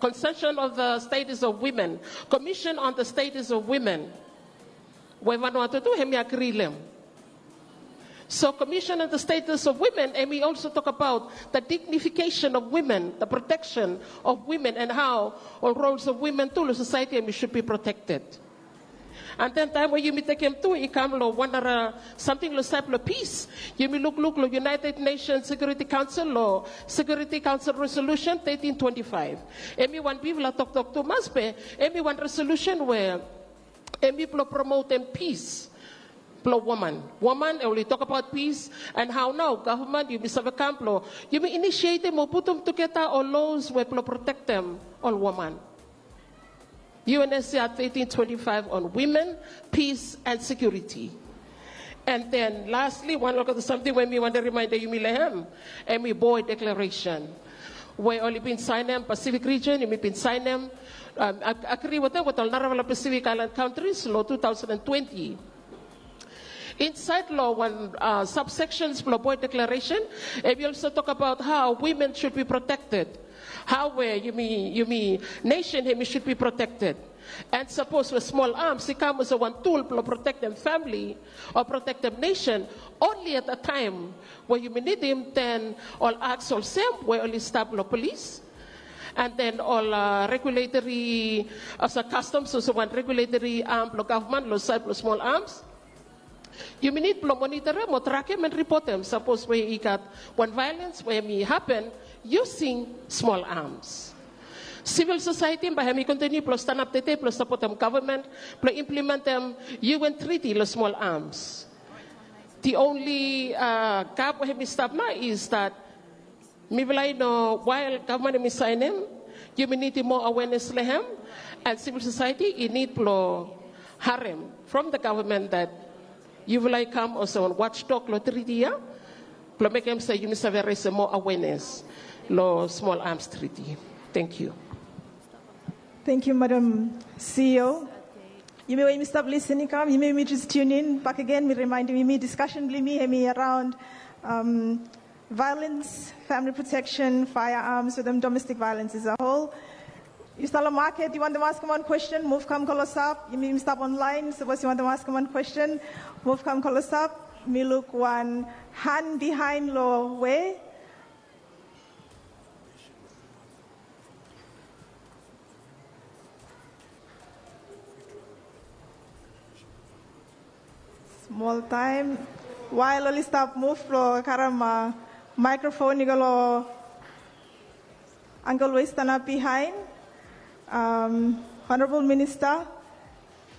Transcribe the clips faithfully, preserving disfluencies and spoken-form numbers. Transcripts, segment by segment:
Convention of the Status of Women, Commission on the Status of Women, we Vanuatu tu hemi agri long hem. So Commission on the Status of Women, hemi also talk about the dignification of women, the protection of women, and how all roles of women tu long society hemi should be protected. And then taem we yumi tekem tu i kam long wan nara samting long saed blong pis. Yumi lukluk long United Nations Security Council, long Security Council Resolution thirteen twenty-five. Hemi wan bigfala toktok tumas be hemi wan resolution we hemi blong promotem pis blong woman. Woman, oli talk about peace and how nao government yumi save kam blong yumi initiatem o putum tugeta ol laws we blong protektem ol woman. U N S C R thirteen twenty-five on women, peace and security. And then lastly, wan olgeta samting we mi wantem remaendem yumi long hem, hemi Boe Declaration. We oli bin saenem, Pacific region, yumi bin saenem, um, ag-, agri wetem, wetem ol narafala Pacific Island countries, long two thousand and twenty. Insaed long wan, uh, subsections blong Boe Declaration, hemi also talk about how women should be protected. How we, yumi, yumi nation, hemi should be protected. And sapos we small arms i kam olsem wan tool blong protektem family o protektem nation, only at the time we yumi nidim, then ol aks olsem we oli stap long polis, and then ol, uh, regulatory, olsem customs, olsem wan regulatory arm blong government long saed blong small arms. Yumi nid blong monitorem o trakem and ripotem sapos we i gat wan violence we hemi hapen using small arms. Civil society bae hemi kontiniu blong stanap tete blong sapotem government blong implementem U N treaty long small arms. The only, uh, gap we hemi stap nao is that mifala i no, while government hemi saenem, yumi nidim moa awareness long hem, and civil society i nid blong harem from the government that yufala i kam olsem wan watchdog long treaty ia, blong mekem se yumi save resem moa awareness long small arms treaty. Thank you. Thank you, Madam C E O. Yumi we yumi stap lisin i kam, yumi we yumi just tune in bakegen, mi remaendem yumi discussion blong yumi hemi around, um, violence, family protection, firearms, wetem domestic violence as a whole. Yu stap long maket, yu wantem askem wan kwestin, muv kam klosap. Yumi, yumi stap online, sapos yu wantem askem wan kwestin, muv kam klosap. Mi luk wan han bihaen long we. Smol taem. Wael oli stap muv blong karem, uh, microphone i go long uncle we i stanap bihaen. Um, Honorable Minister,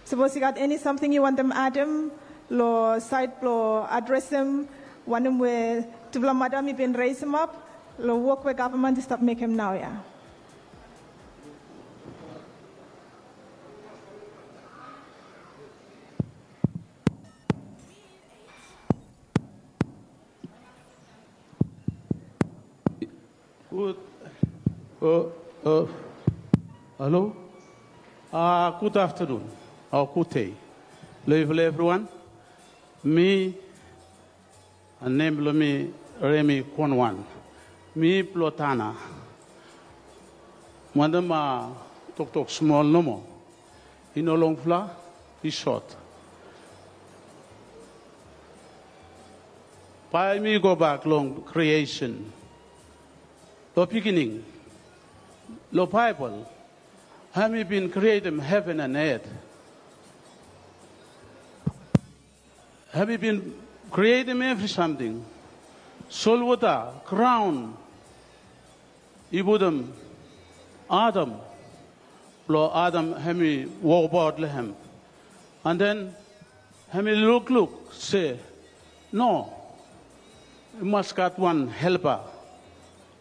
sapos yu gat eni samting yu wantem adem long saed blong adresem wanem we tufala madam i bin resemap long wok we gavman i stap mekem naoia. Gud, o, o, halo. A, gud aftenun o gud dei long yufala evriwan. Mi, a, nem blong mi Remi Konwan. Mi blong Tana. Wantem, a, toktok smol nomo. I no longfala, i sot. Bae mi gobak long creation. Long beginning, long Baebol, hemi bin krietem heven and earth. Hemi bin krietem evri samting. Solwota, graon, i putum Adam. Blong Adam hemi wokbaot long hem. And then hemi lukluk se, no, i mas gat wan helpa.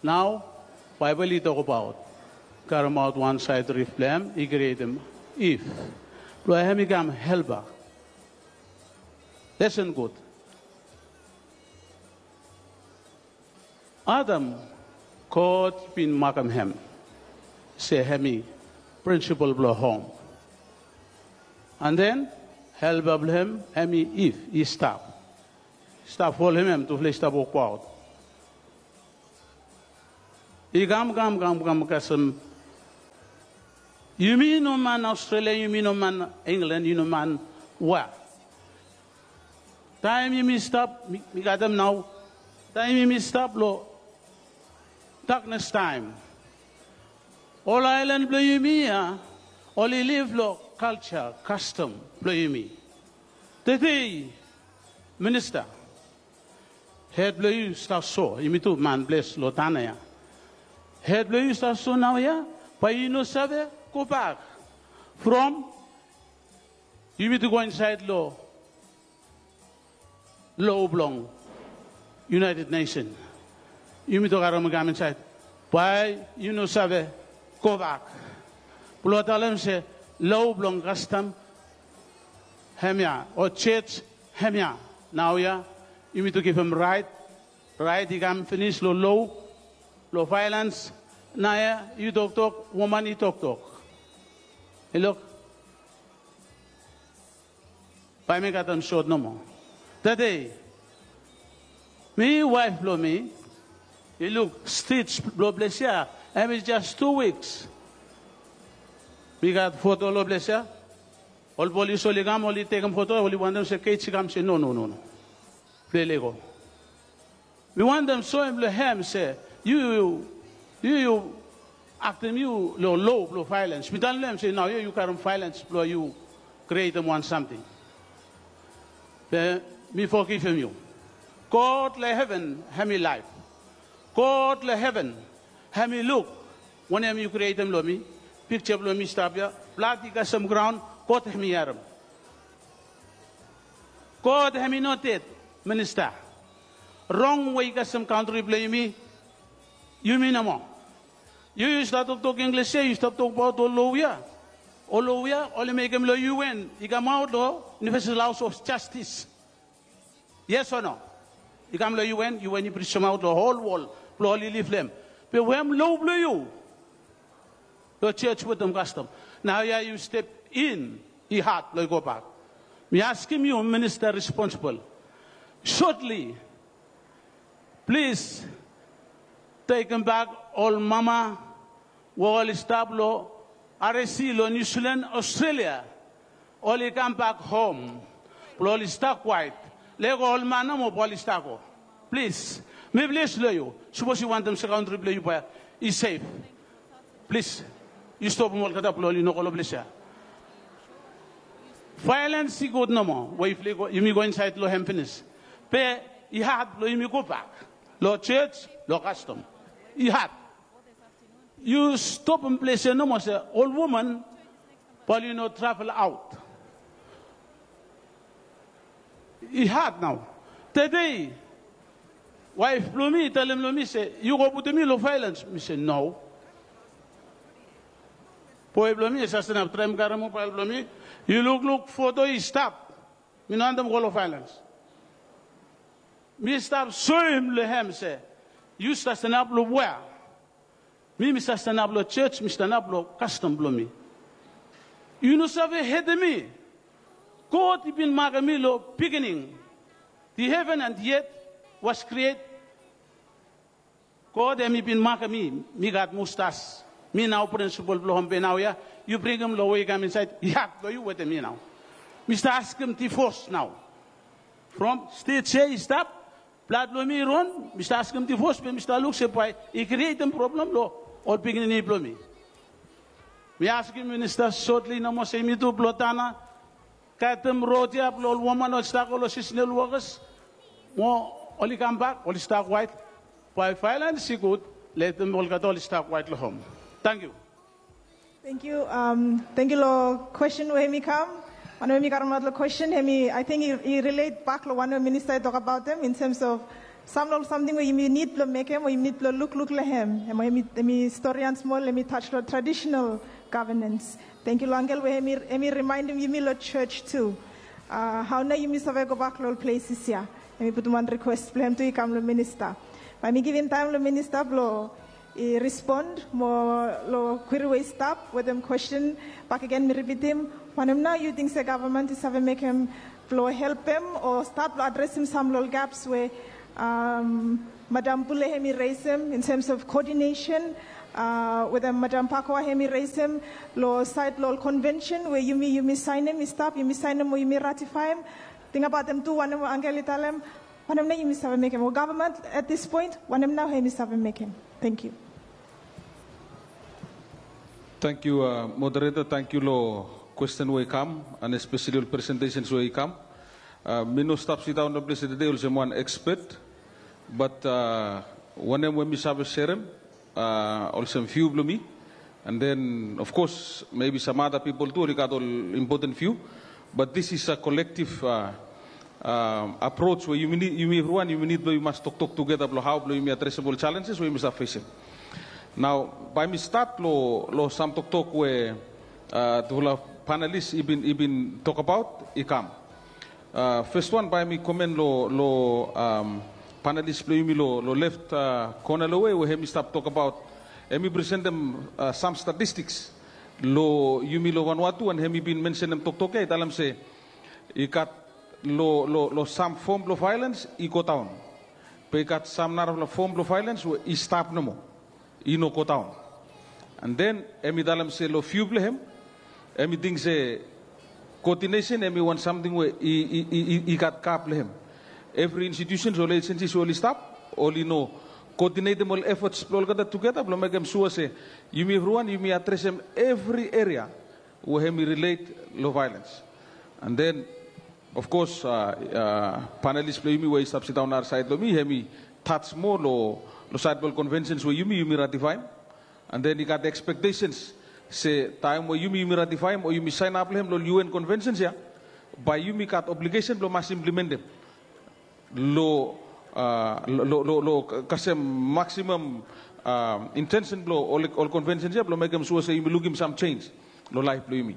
Nao Baebol i tokbaot karemaot wan saed rif blong hem, i krietem Iv blong hemi kam helpa. Lesen gud. Adam, God bin makem hem se hemi prinsipol blong hom. And then helpa blong hem hemi Iv, i stap. Stap folem hem, tufala i stap wokbaot. I kam, kam, kam, kam kasem Yumi no man Australia, yumi no man England, yumi no man wea. Taem yumi stap, mi, mi gat hem nao. Taem yumi stap lo daknes taem, ol aelan blo yumi ya oli liv lo kalja, kastom blo yumi. Tede, minista, hed blo yu stap so, yumi tu man bles lo tana ya. Hed blo yu stap so naoia, bae yu no save gobak from yumi tu go insaed lo lo blong United Nation. Yumi tok harem i kam insaed, bae yu no save gobak. Blo talem se lo blong kastom hemia o jos hemia. Naoia yumi tu givim raet, raet i kam finis lo lo, lo vaelens. Naoia yu toktok, woman i toktok. I luk, bae mi katem sot nomo. Tede, mi, waef blo mi i luk stij blo ples ya, hemi jes tu wiks. Mi gat foto lo ples ya. Ol polis oli kam, oli tekem foto, oli wantem se Keits i kam, se no, no, no, no. Ples i lego. Mi wantem soem lo hem se yu, yu, yu aktem yu lo lo blo vaelens. Mi talem lo hem se naoia yu karem vaelens blo yu krietem wan samting. Be mi fogivim yu. God lo heven hemi laef. God lo heven hemi luk wanem yu krietem lo mi. Pikja blo mi stap ya, blad i kasem graon, God hemi harem. God hemi no ded, minista. Rong we i kasem kantri blo yumi, yumi nomo. Yu, yu stap toktok Inglis ya, yu stap tokbaot ol loya. Ol loya oli mekem lo U N i kamaot lo Universal House of Justice. Yes o no? I kam lo U N, U N i prisemaot lo hol wol blo oli liv lo hem. Be we hem lo blo yu? Lo jos wetem kastom. Naoia yu step in, i had blo yu gobak. Mi askem yu, minista responsibol, sotli, plis, tekembak ol mama we oli stap lo R S C lo Niu Silan, Australia. Oli kambak hom blo oli stap kwaet. Lego ol man nomo blo oli stap go. Plis, mi plis lo yu. Sapos yu wantem se kantri blo yu bae i sef, plis, yu stopem olgeta blo oli no go lo ples ya. Vaelens i gud nomo we yufala, yumi go insaed lo hem finis. Be i had blo yumi gobak lo jos, lo kastom. I had. Yu stopem ples ya nomo se ol woman bae oli no travel aot. I had nao. Tede, waef blo mi i talem lo mi se, yu go putum mi lo vaelens. Mi se no. Boe blo mi i sastenap, traem karem mobael blo mi. Yu lukluk foto i stap. Mi no wantem go lo vaelens. Mi stap soem lo hem se yu sastenap lo wea. Mi, mi sastenap lo jos, mi stanap lo kastom blo mi. Yu no save hetem mi. God i bin makem mi lo biginin. The heaven and the earth was create. God hemi bin makem mi. Mi gat mustas. Mi nao prinsipol blo hom. Be naoia yu bringim lo we i kam insaed, i had blo yu wetem mi nao. Mi stap askem divos nao. From stej ya i stap, blad blo mi i ron, mi stap askem divos, be mi stap luk se bae i krietem problem lo ol pikinini blo mi. Mi askem minista sotli nomo se yumi tu blo tana, katem rod ya blo ol woman oli stap go lo seasonal workers, mo oli kambak, oli stap kwaet. Bae vaelens i gud, letem olgeta oli stap kwaet lo hom. Tangkiu. Tangkiu. Tangkiu lo kwestin we hemi kam. Wanem we mi karemaot lo kwestin hemi, ating i, i rilet bak lo wanem we minista i tokbaot hem in terms of sam lo ol samting we yumi nid blo mekem o yumi nid blo lukluk lo hem. Hemi, hemi storian smol, hemi taj lo traditional governance. Tangkiu lo Angel we hemi, hemi rimaenem yumi lo jos tu. Hao nao yumi save gobak lo ol ples ya? Hemi putum wan rikwes blo hem tu i kam lo minista. Bae mi givim taem lo minista blo i respon mo lo kweri we i stap wetem kwestin. Bakegen mi ripitim, wanem nao yu ting se gavman i save mekem blo helpem o stat blo adresem sam lo ol gaps we Madam Pule hemi resem in terms of coordination Uh, wetem Madam Pakoa, hemi reisem lo sait lo ol konvensen we yumi, yumi sainem i stap, yumi sainem o yumi ratifaem. Tingbaotem tu wanem we Angel i talem, wanem nao yumi save mekem? O gavman at this point, wanem nao hemi save mekem? Thank you. Thank you, uh, moderator. Thank you lo question we i kam, and especially ol presentations we i kam. Uh, mi no stap sidaon lo ples tede olsem wan expert, but uh, wanem we mi save serem, uh, olsem view blo mi. And then, of course, maybe some other people tu oli gat ol important view. But this is a collective uh, um, approach we yumi nid, yumi evriwan yumi nid blo yumi mas toktok tugeta blo hao blo yumi adresem ol challenges we yumi save fesem. Nao bae mi stat lo, lo sam toktok we uh, tufala panelist i bin, i bin tokbaot i kam. Uh, fes wan bae mi komen lo, lo um, panelist blo yumi lo, lo left uh, kona lo we, we hemi stap tokbaot, hemi presentem uh, sam statistiks lo yumi lo Vanuatu, and hemi bin mensenem toktok ia, i talem se i gat lo, lo, lo sam fom blo vaelens i godaon. Be i gat sam narafala fom blo vaelens we i stap nomo, i no godaon. And then hemi talem se lo view blo hem, hemi ting se coordination hemi wan samting we i, i, i, i, i gat gap lo hem. Evri institutions, ol agencies we oli stap, oli no coordinatem ol efforts blo olgeta tugeta blo mekem sua se yumi evriwan yumi adresem evri eria we hemi relate lo vaelens. And then, of course, uh, uh, panelist blo yumi we i stap sidaon narasaed lo mi, hemi touch moa lo, lo saed blo ol conventions we yumi, yumi ratifaem. And then i gat expectations se taem we yumi, yumi ratifaem o yumi saenap lo hem lo ol U N conventions ia, bae yumi gat obligation blo mas implementem lo, uh, lo, lo, lo, lo kasem maximum uh, intention blo ol, ol conventions ia blo mekem sua se yumi lukim sam change lo laef blo yumi.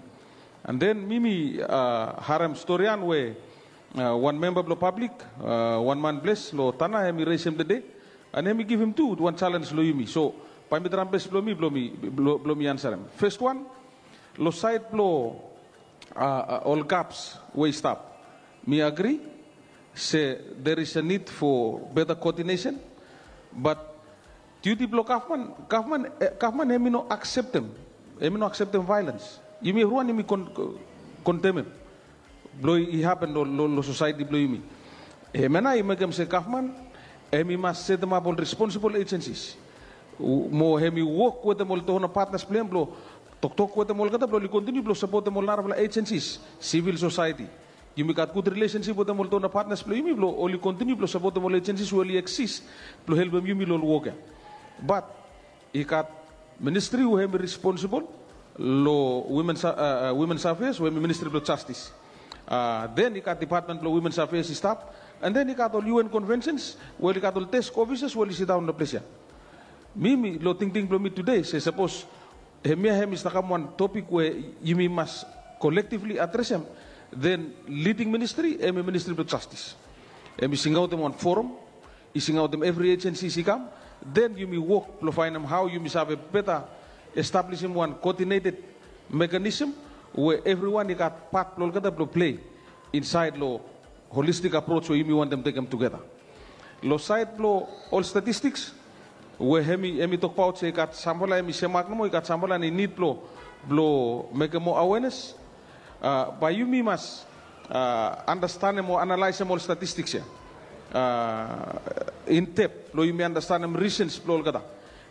And then mi, mi uh, harem storian we uh, wan memba blo pablik, uh, wan man ples lo Tanna, hemi resem tede, and hemi givim tu wan challenge lo yumi. So bae mi traem bes blo mi, blo mi, blo, blo mi ansarem. Fes wan, lo saed blo uh, uh, ol gaps we i stap, mi agri se there is a need for better coordination, but duty blo gavman, gavman, eh, gavman hemi no akseptem, hemi no akseptem vaelens. Yumi evriwan yumi kon, kondemem blo i hapen lo, lo, lo sosaeti blo yumi. Hemia nao i mekem se gavman hemi mas setemap ol responsible agencies, mo hemi wok wetem ol donor partners blo hem blo toktok wetem olgeta blo oli kontiniu blo sapotem ol narafala agencies, civil society. Yumi gat gud relationship wetem ol donor partners blo yumi blo oli kontiniu blo sapotem ol agencies we oli exist blo helpem yumi lo ol wok ia. But i gat ministry we hemi responsible lo women's, uh, uh, women's affairs, we hemi ministry blo justice. Uh, then i gat department blo women's affairs i stap, and then i gat ol U N conventions we oli gat ol desk officers we oli sidaon lo ples ia. Mi, mi lo tingting blo mi tede se sapos hemia hemi stap kam wan topik we yumi mas collectively adresem, then leading ministry hemi ministry blo justice. Hemi singaotem wan forum, i singaotem evri agencies i kam, then yumi wok blo faenem hao yumi save beta establisim wan coordinated mechanism we evriwan i gat pat blo olgeta blo plei insaed lo holistic approach we yumi wantem tekem tugeta. Lo saed blo ol statistiks we hemi, hemi tokbaot se i gat samfala hemi semak nomo, i gat samfala hemi nid blo, blo mekem moa awareness. Uh, bae yumi mas uh, andastanem o analaesem ol statistiks ia uh, in depth blo yumi andastanem reasons blo olgeta.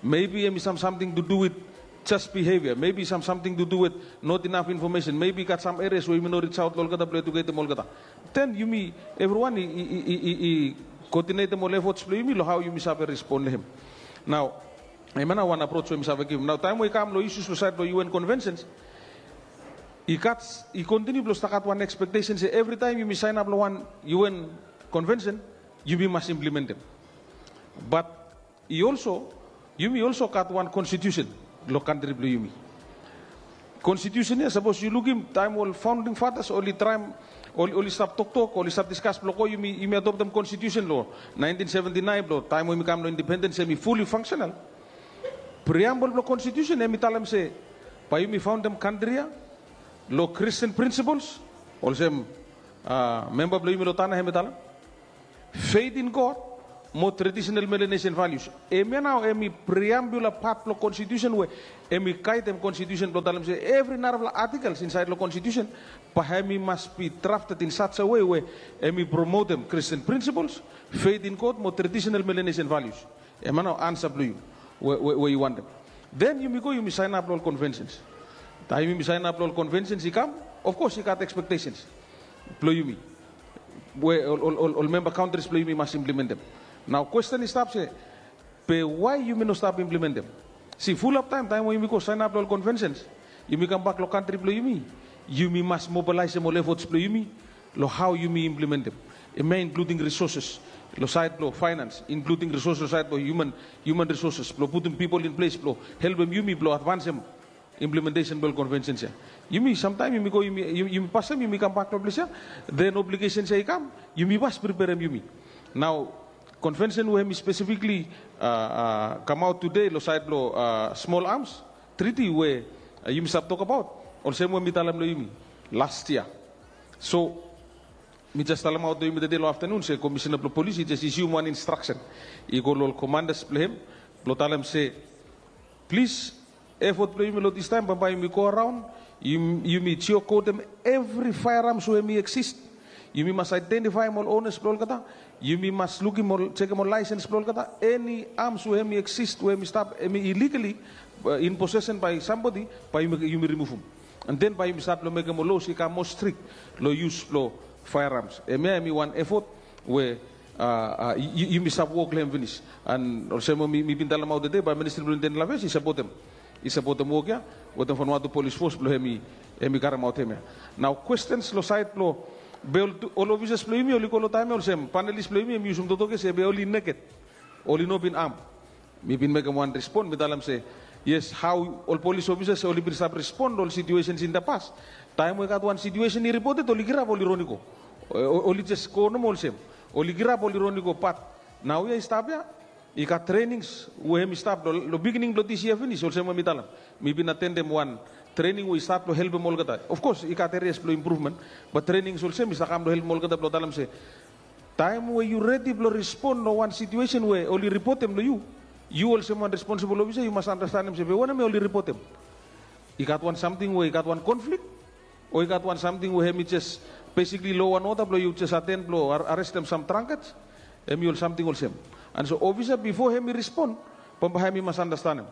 Maybe hemi sam samting to do with just behavior. Maybe sam samting to do with not enough information. Maybe i gat sam areas we yumi no reach out lo olgeta blo eduketem olgeta. Then yumi evriwan i, i, i, i, i coordinatem ol efforts blo yumi lo hao yumi save respond lo hem. Nao hemia nao wan approach we mi save givim. Nao taem we i kam lo issues lo saed blo U N conventions, i gat, i kontiniu blo stap gat wan expectation se evri taem yumi saenap lo wan U N convention yumi mas implementem. But i also, yumi also gat wan constitution lo kantri blo yumi. Constitution ia, sapos yu lukim taem ol founding fathers oli traem, oli, oli stap toktok, oli stap diskas blo go yumi, yumi adoptem constitution lo nineteen seventy-nine, blo taem we yumi kam lo independens hemi fully functional. Preamble blo constitution hemi talem se bae yumi faondem kantri ia lo Christian principles, olsem uh, memba blo yumi lo Tanna hemi talem, faith in God, mo traditional Melanesian values. Hemia nao hemi preambular pat blong konstitusen we hemi gaedem konstitusen blong talem se evri narafala articles insaed long konstitusen bae hemi mas be drafted in such a way we hemi promotem Christian principles, faith in God mo traditional Melanesian values. Hemia nao ansa blong yu we, we, we yu wantem. Then yumi go yumi saenap long ol conventions. Taem yumi saenap long ol conventions i kam, of course i gat expectations blong yumi we ol, ol, ol, ol member countries blong yumi mas implementem. Nao kwesten i stap se, be why yumi no stap implementem? Si, fulap taem, taem we yumi go saenap long ol conventions, yumi kambak long kantri blong yumi, yumi mas mobilaesem ol efforts blong yumi long hao yumi implementem. Hemia inkluding resources long saed blong finance, inkluding resources long saed blong human, human resources blong putum people in place blong helpem yumi blong advansem implementation blong ol conventions ia. Yumi, samtaem yumi go, yumi, yumi, yumi pasem, yumi kambak long ples ia, then obligations ia i kam, yumi mas preperem yumi. Nao convention we hemi specifically, uh, uh, kamaot tede long saed blong, uh, small arms treaty we, uh, yumi stap tokbaot, olsem we mi talem long yumi last year. So mi jes talemaot long yumi tede long aftanun se Komisena blong Polis i jes isium wan instraksen i go long ol commanders blong hem blong talem se, plis, effort blong yumi long distaem, bambae yumi go araon, yum-, yumi jiokodem evri firearms we hemi exist. Yumi mas aedentifaem ol owners blong olgeta. Yumi mas lukim ol, jekem ol license blong olgeta. Eni arms we hemi exist we hemi stap, hemi illegally, uh, in possession by somebody, bae yumi, yumi rimuvum. And then bae yumi stat long mekem ol laws i kam moa strict long use blong firearms. Hemia hemi wan effort we, uh, uh, yu-, yumi stap wok long hem finis. And olsem we mi, mi bin talemaot tede, bae Ministri blong Internal Affairs i sapotem, i sapotem wok ia wetem Vanuatu Police Force blong hemi, hemi karemaot hemia. Nao questions long saed blong, be ol, ol officers blong yumi oli go long taem ia olsem, panelist blong yumi hemi yusum totok ia se be oli naked, oli no bin arm. Mi bin mekem wan respon, mi talem se, yes, hao ol police officers oli bin stap respon long ol situations in the past. Taem we i gat wan situation i reported, oli kirap, oli ron i go. O-, o-, oli jes go nomo olsem. Oli kirap, oli ron i go, bat naoia i stap ia, i gat trainings we hemi stap long, long beginning blong this year finis, olsem we mi talem. Mi bin atendem wan training we i stap long helpem olgeta. Of course i gat areas blong improvement, bat trainings olsem i stap kam long helpem olgeta blong talem se, taem we yu redi blong respon long wan situation we oli ripotem long yu, yu olsem wan responsible officer yu mas andastanem se be wanem ya oli ripotem. I gat wan samting we i gat wan conflict, o i gat wan samting we hemi jes basically law and order blong yu jes aten blong ar-, arestem sam drunkards. Hemi ol samting olsem. And so officer bifo hemi respon, bambae hemi mas andastanem.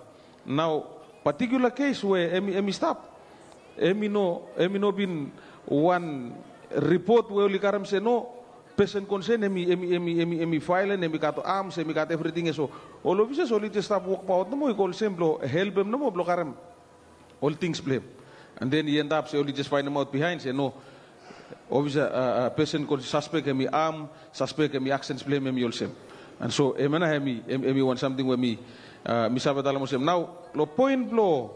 Nao particular case we hemi, hemi stap, hemi no, hemi no bin wan report we oli karem se no, person concern hemi, hemi, hemi, hemi, hemi violent, hemi gat arms, hemi gat everything ya. So ol officers oli jes stap wokbaot nomo i go olsem blong helpem nomo blong karem ol things blong hem. And then i end up se oli jes faenemaot behind se no, officer, uh, uh, person kon suspek hemi arm, suspek hemi actions blong hem hemi olsem. And so hemia nao hemi, hem, hemi wan samting we mi, uh, mi save talem olsem. Nao long point blong,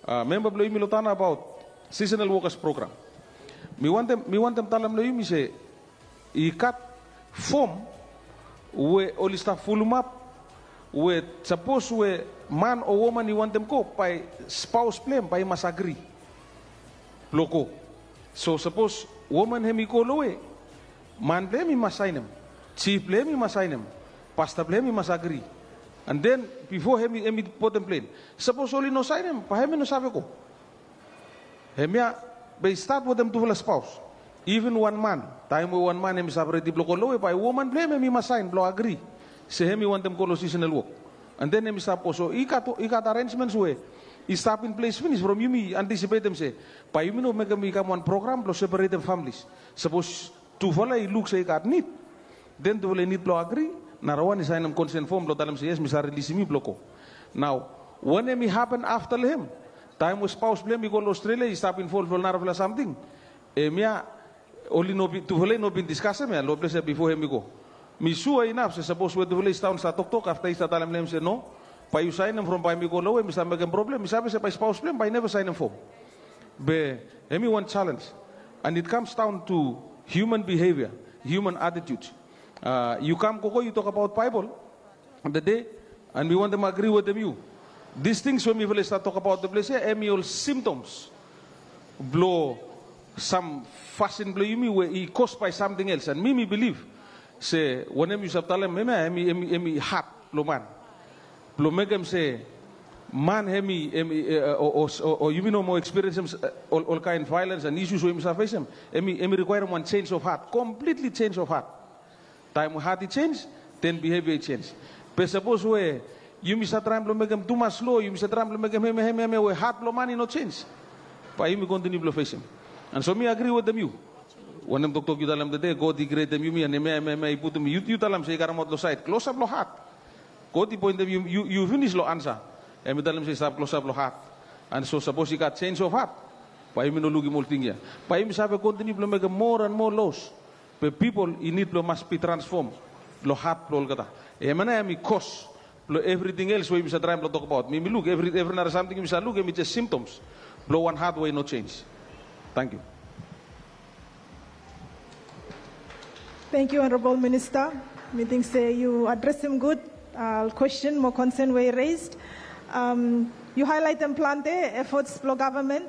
uh, memba blong yumi long Tanna abaot seasonal workers program, mi wantem, mi wantem talem long yumi se i gat fom we oli stap fulumap, we sapos we man o woman i wantem go, bae spaos blong hem bae i mas agri blong go. So sapos woman hemi go lowe, man blong hem i mas saenem, jif blong hem i mas saenem, pasta blong hem i mas agri. And then bifo hemi, hemi botem plen. Sapos oli no saenem, bae hemi no save go. Hemia bae i stat wetem tufala spaos. Even wan man, taem we wan man hemi stap redi blong go lowe, bae woman blong hem hemi mas saen blong agri se hemi wantem go long seasonal work. And then hemi stap go. So i gat, i gat arrangements we i stap in ples finis from yumi antisipetem se bae yumi no mekem i kam wan program blong separetem families. Sapos tufala i luk se i gat nid, then tufala i nid blong agri, narawan i saenem konsen fom blong talem se yes, mi save rilisim yu blong go. Nao wanem i hapen afta long hem, taem we spaos blong hem i go long Australia, i stap involv long narafala samting, hemia oli no bin, tufala i no bin diskasem ya long ples ya bifo hemi go. Mi sua inaf se sapos we tufala i stap daon stap toktok, afta i stap talem long hem se no, bae yu saenem from bae mi go lowe, mi stap mekem problem, mi save se bae spaos blong hem bae i neva saenem fom. Be hemi wan challenge. And it comes down to human behavior, human attitude. Uh, yu kam gogo yu tokbaot Baebol tede, and mi wantem agri wetem yu. These things we mifala i stap tokbaot long ples ya, hemi ol symptoms blong sam fasin blong yumi we i caused by something else. And mi, mi bilif Se wanem yu save talem, hemia hemi, hemi, hemi hat blong man blong mekem se man hemi, hemi, eh, o, o, o, o yumi no moa ekspiriensim, eh, ol, ol kaen vaelens and isus we yumi save fesem. Hemi, hemi rikwaerem wan change of heart, completely change of heart. Taem we hat i jenj, den bihevia i jenj. Be sapos we yumi save traem blong mekem tumas lo, yumi save traem blong mekem hemia, hemia, hemia, we hat blong man i no jenj, bae yumi kontiniu blong fesem. And so mi agri wetem yu. Wanem toktok yu talem tede, God i krietem yumi, and hemia, hemia, hemia i putum, yu, yu talem se i karemaot lo saed klosap lo hat. God i poentem yu, yu, yu finis lo ansa. Hemi talem se i stap klosap lo hat. And so sapos i gat jenj of hat, bae yumi no lukim ol ting ya. Bae yumi save kontiniu blong mekem moa and moa los. Be pipol i nid blong mas bi transfom lo hat blong olgeta. Hemia nao hemi kos blong evriting els we yumi save traem blong tokbaot. Mi, mi luk evri, evri nara samting yumi save luk, hemi jes simptoms blong wan hat we i no jenj. Tangkiu. Tangkiu, Honorable Minister. Mi ting se yu adresem gud, uh, kwesten mo konsen we i raised. Um, yu haelaetem plante efforts blong gavman,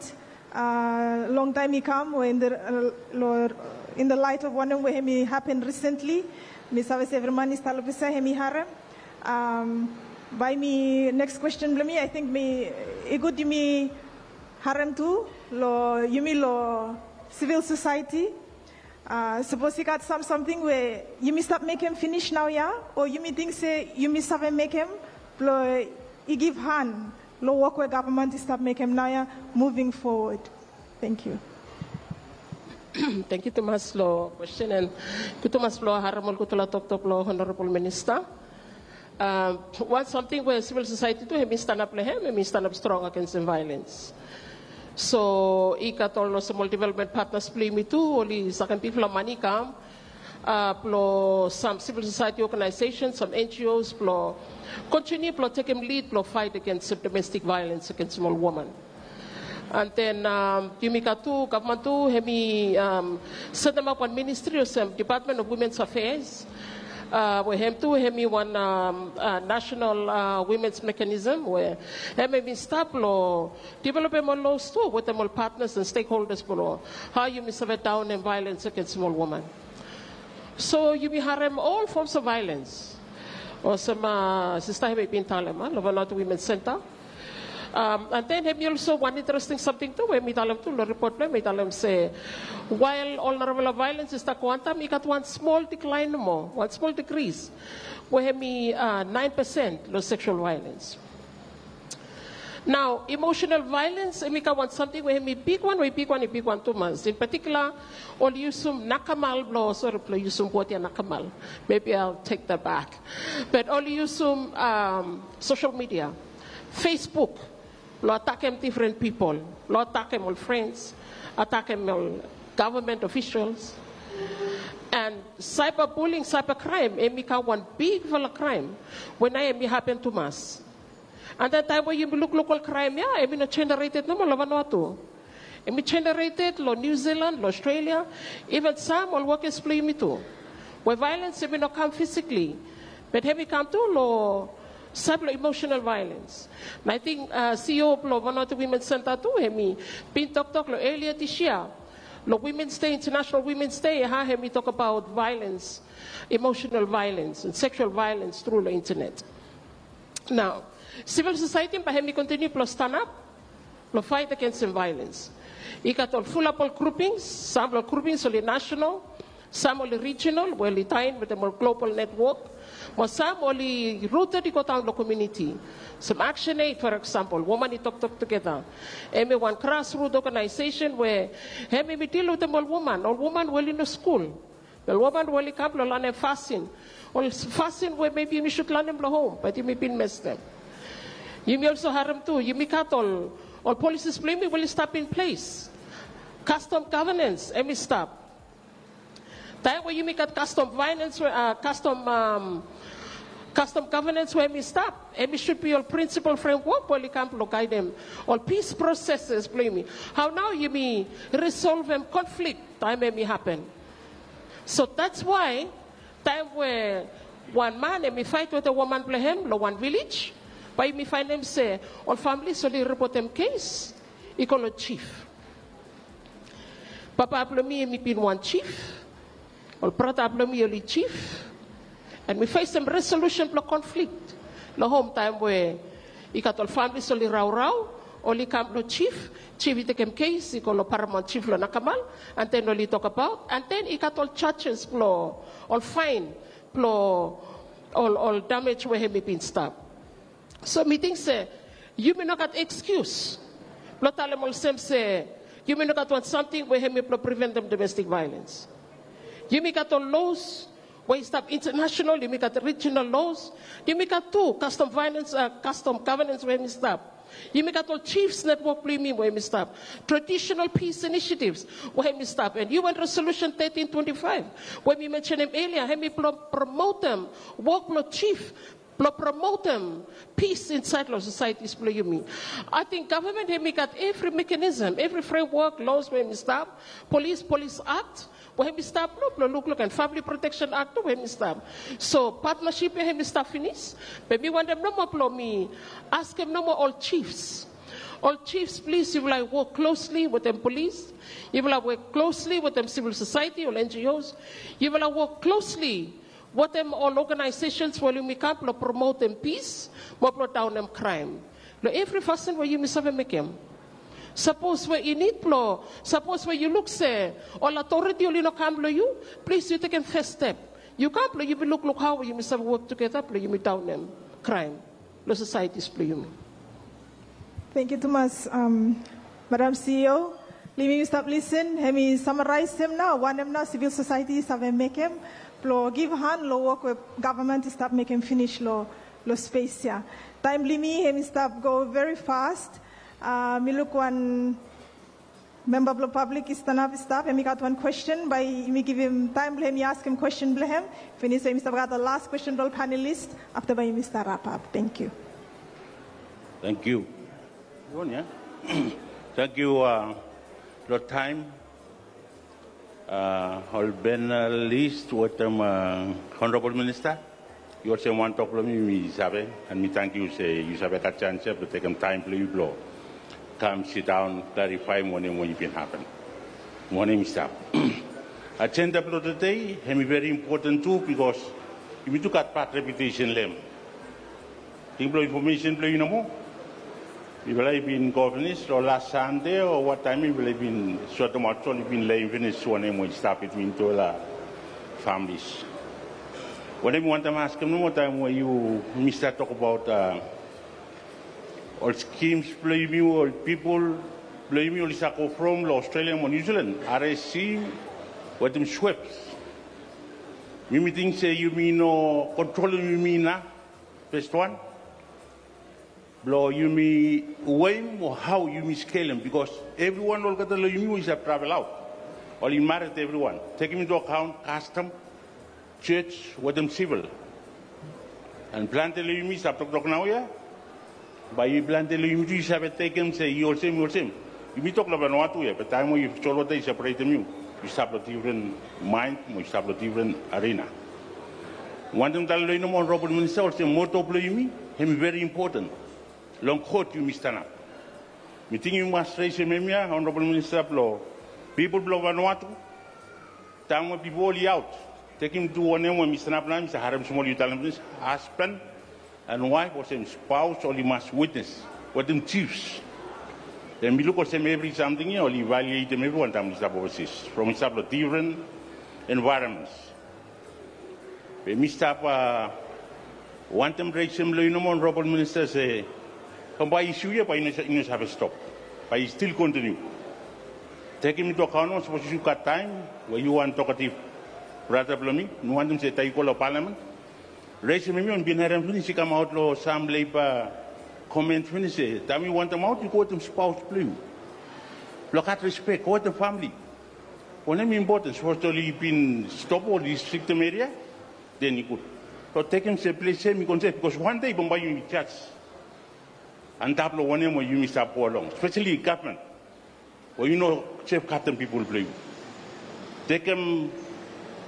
uh, long taem i kam, we in the, uh, lo, in the light of wanem we hemi hapen recently. Mi save se evri man i stap lo ples ya hemi harem. Um, bae mi, next question blong mi, I think mi, i gud yumi harem tu lo yumi lo civil society. Uh, sapos i gat sam samting we yumi stap mekem finis naoia, o yumi ting se yumi save mekem blong i givhan lo wok we gavman i stap mekem naoia, moving forward. Tangkiu. Tangkiu tumas lo kwesten, and gud tumas blong harem ol gudfala toktok blong Honorable Minister. Um, wan samting we civil society tu hemi stanap lo hem, hemi stanap strong agensem vaelens. So i gat ol olsem ol development partners blong yumi tu, oli sakem bigfala mane i kam, uh, blong sam civil society organization, sam NGOs blong kontiniu blong tekem lid blong faet agensem domestik vaelens agensem ol woman. And then, um, yumi gat tu, gavman tu hemi, um, setemap wan ministri olsem Department of Women's Affairs, uh, we hem tu hemi wan, um, uh, national, uh, women's mechanism we hem hemi stap lo developem ol laws tu wetem ol partners and stakeholders blong hao yumi save daonem vaelens agensem ol woman. So yumi harem ol forms of vaelens. Olsem, uh, sista hemi bin talem, uh, lo Vanuatu Women's Centre. Um, and then hemi olsem wan interesting samting tu we mi talem tu lo ripot blong hem, mi talem se wael ol narafala vaelens i stap go antap, i gat wan smol diklaen nomo, wan smol dikris, we hemi, uh, naen pesen lo seksual vaelens. Nao emosenal vaelens hemi kam wan samting we hemi bigwan, we i bigwan, i bigwan tumas. In patikula oli yusum nakamal blong, sori, blong yusum wod ya nakamal. Maybe I'll take that back. But oli yusum, um, sosel midia, Facebook, blong atakem difren pipol, blong atakem ol frens, atakem ol gavman ofisals. And cyberbullying, cybercrime hemi kam wan bigfala kraem we naoia hemi hapen tumas. And then taem we yumi lukluk ol kraem ya, hemi no generated nomo lo Vanuatu. Hemi generated lo New Zealand, lo Australia, iven sam ol wokes blong yumi tu, we vaelens hemi no kam fisikli, be hemi kam tu lo saed blong emosenal vaelens. And I think, uh, CEO blong Vanuatu Women's Centre tu hemi bin toktok lo elia dis yia lo Women's Day, International Women's Day, hao hemi tokbaot vaelens, emosenal vaelens and seksual vaelens tru lo intenet. Nao sivil sosaeti bae hemi kontiniu blong stanap blong faet agensem vaelens. I gat ol fulap ol grupings, sam blong ol grupings oli nasenal, sam oli rijinal, we oli taem wetem ol global netwok, mo sam oli ruted i godaon lo komuniti. Olsem ActionAid, for example, Woman i Toktok Tugeta, hemi wan grasrut oganaesesen we hem hemi dil wetem ol woman, ol woman we oli no skul, ol woman we oli kam blong lanem fasin, ol fasin we maybe yumi sud lanem lo hom, be yumi bin mestem. Yumi olsem harem tu, yumi gat ol, ol policies blong yumi we oli stap in ples. Kastom gavenens hemi stap. Taem we yumi gat kastom vaelens we, uh, kastom, um, kastom gavenens we hemi stap, hemi sud bi ol prinsipol fremwok we oli kam blong gaedem ol pis proseses blong yumi. Hao nao yumi risolvem konflik taem hemi hapen. So that's why taem we wan man hemi faet wetem woman blong hem lo wan vilej, bae yumi faenem se ol familis oli ripotem kes i go lo jif. Papa blong mi hemi bin wan jif. Ol brata blong mi oli jif, and mi fesem resolusen blong konflik long hom taem we i gat ol familis oli raorao, oli kam long jif, jif i tekem kes i go long paramaon jif long Nakamal, and then oli tokbaot, and then i gat ol jajes blong ol faen blong ol, ol damej we hem i bin stap. So mi ting se yumi no gat ekskius blong talem olsem se yumi no gat wan samting we hem i blong priventem domestik vaelens. Yumi gat ol los we i stap intanasenal, yumi gat rijinal los, yumi gat tu kastom vaelens, a, kastom gavenens we hem i stap. Yumi gat ol jifs netwok blong yumi we hem i stap, traditional peace initiatives we hem i stap, and U N Resolution thirteen twenty-five we mi mensenem elia, hem i blong promotem wok blong jif blong promotem pis insaed long sosaetis blong yumi. Ating gavman hem i gat evri mekanism, evri fremwok, los we hem i stap, polis, polis akt we hem i stap nomo blong lukluk, and famili proteksen akt nomo we hem i stap. So patnasip ya hem i stap finis. Be mi wantem nomo blong mi askem nomo ol jifs, ol jifs, plis yufala i wok klosli wetem polis, yufala wok klosli wetem sivil sosaeti, ol N G Os, yufala wok klosli wetem ol oganaesesens we oli kam blong promotem pis mo blong daonem kraem long evri fasin we yumi save mekem. Sapos we i nid blong, sapos we yu luk se ol atoriti oli no kam long yu, plis yu tekem fes step. Yu kam blong yumi lukluk hao we yumi save wok tugeta blong yumi daonem kraem long sosaetis blong yumi. Tangkiu tumas, Madam C E O. Long yumi stap lisen, hem i samaraesem nao wanem nao sivil sosaeti i save mekem blong givhan long wok we gavman i stap mekem finis long spes ya. Taem blong yumi hem i stap go veri fas. Mi luk wan memba blong pablik i stanap i stap, hem i gat wan kwesten, bae yumi givim taem blong hem i askem kwesten blong hem. Finis bae yumi stap gat ol las kwesten blong ol panelis, afta bae yumi stap rapap. Tangkiu. Tangkiu. Tangkiu long taem. Ol panelis wetem Honorabol Minista, i olsem wan tok blong mi mi save, and mi tangkiu se yu save gat janis ya blong tekem taem blong yu blong kam sidaon, klarifaem wanem we i bin hapen, wanem i stap. Ajenda blong tede hem i veri impoten tu, bikos yumi tu gat bad reputesen long hem. Ting blong infomesen blong yu nomo, mifala i bin go finis long las Sande o wat taem mifala i bin sotemaot, so oli bin leim finis wanem we i stap bitwin tufala familis. Wanem mi wantem askem nomo, taem we yumi stap tokbaot ol skims blong yumi, ol pipol blong yumi oli save go from long Australia mo New Zealand, R S C wetem SWEPS. Mi mi ting se yumi no kontrolem yumi inaf, fes wan, blong yumi weim o hao yumi skelem, bikos evriwan olgeta long yumi we i save travel aot, oli mared evriwan, tekem into akaon kastom, jos wetem sivil. And plante long yumi i stap toktok naoia, bae plante long yumi tu i save tekem se i olsem, i olsem. Yumi tok long Vanuatu ya, be taem we yu solwota i separetem yu, yu stap long difren maen mo yu stap long difren arena. Wantem talem long yu nomo, Honorabol Minista, olsem moto blong yumi hem i veri impoten. Long kot yumi stanap. Mi ting yu mas resem hemia, Honorabol Minista, blong pipol blong Vanuatu. Taem we pipol oli aot, tekem tu wanem we mi stanap nao, mi save harem smol yu talem finis, hasban and waef olsem spaos oli mas witnes wetem jifs. Be mi luk olsem evri samting ya oli vaeletem evriwan taem oli stap ovasis, from oli stap long difren envaeronmens. Be mi stap wantem resem long yu nomo, Honorabol Minista, se bambae isu ya bae i no save stop, bae i stil kontiniu. Tekem into akaon nomo, sapos yu gat taem we yu wan tokativ brata blong mi, mi wantem se taem yu go long palamen, resem hemia we mi bin harem finis i kamaot long sam leba komen finis se taem yu wantem aot yu go wetem spaos blong yu, blong gat respek, go wetem famili. Wanem i impoten, sapos oli bin stop ol ristriktem eria, den i gud. So tekem se ples ya hem i go ansef, bikos wan dei bambae yumi jaj antap long wanem we yumi stap go long, speseli gavman, we yu no sefgatem pipol blong yu. Tekem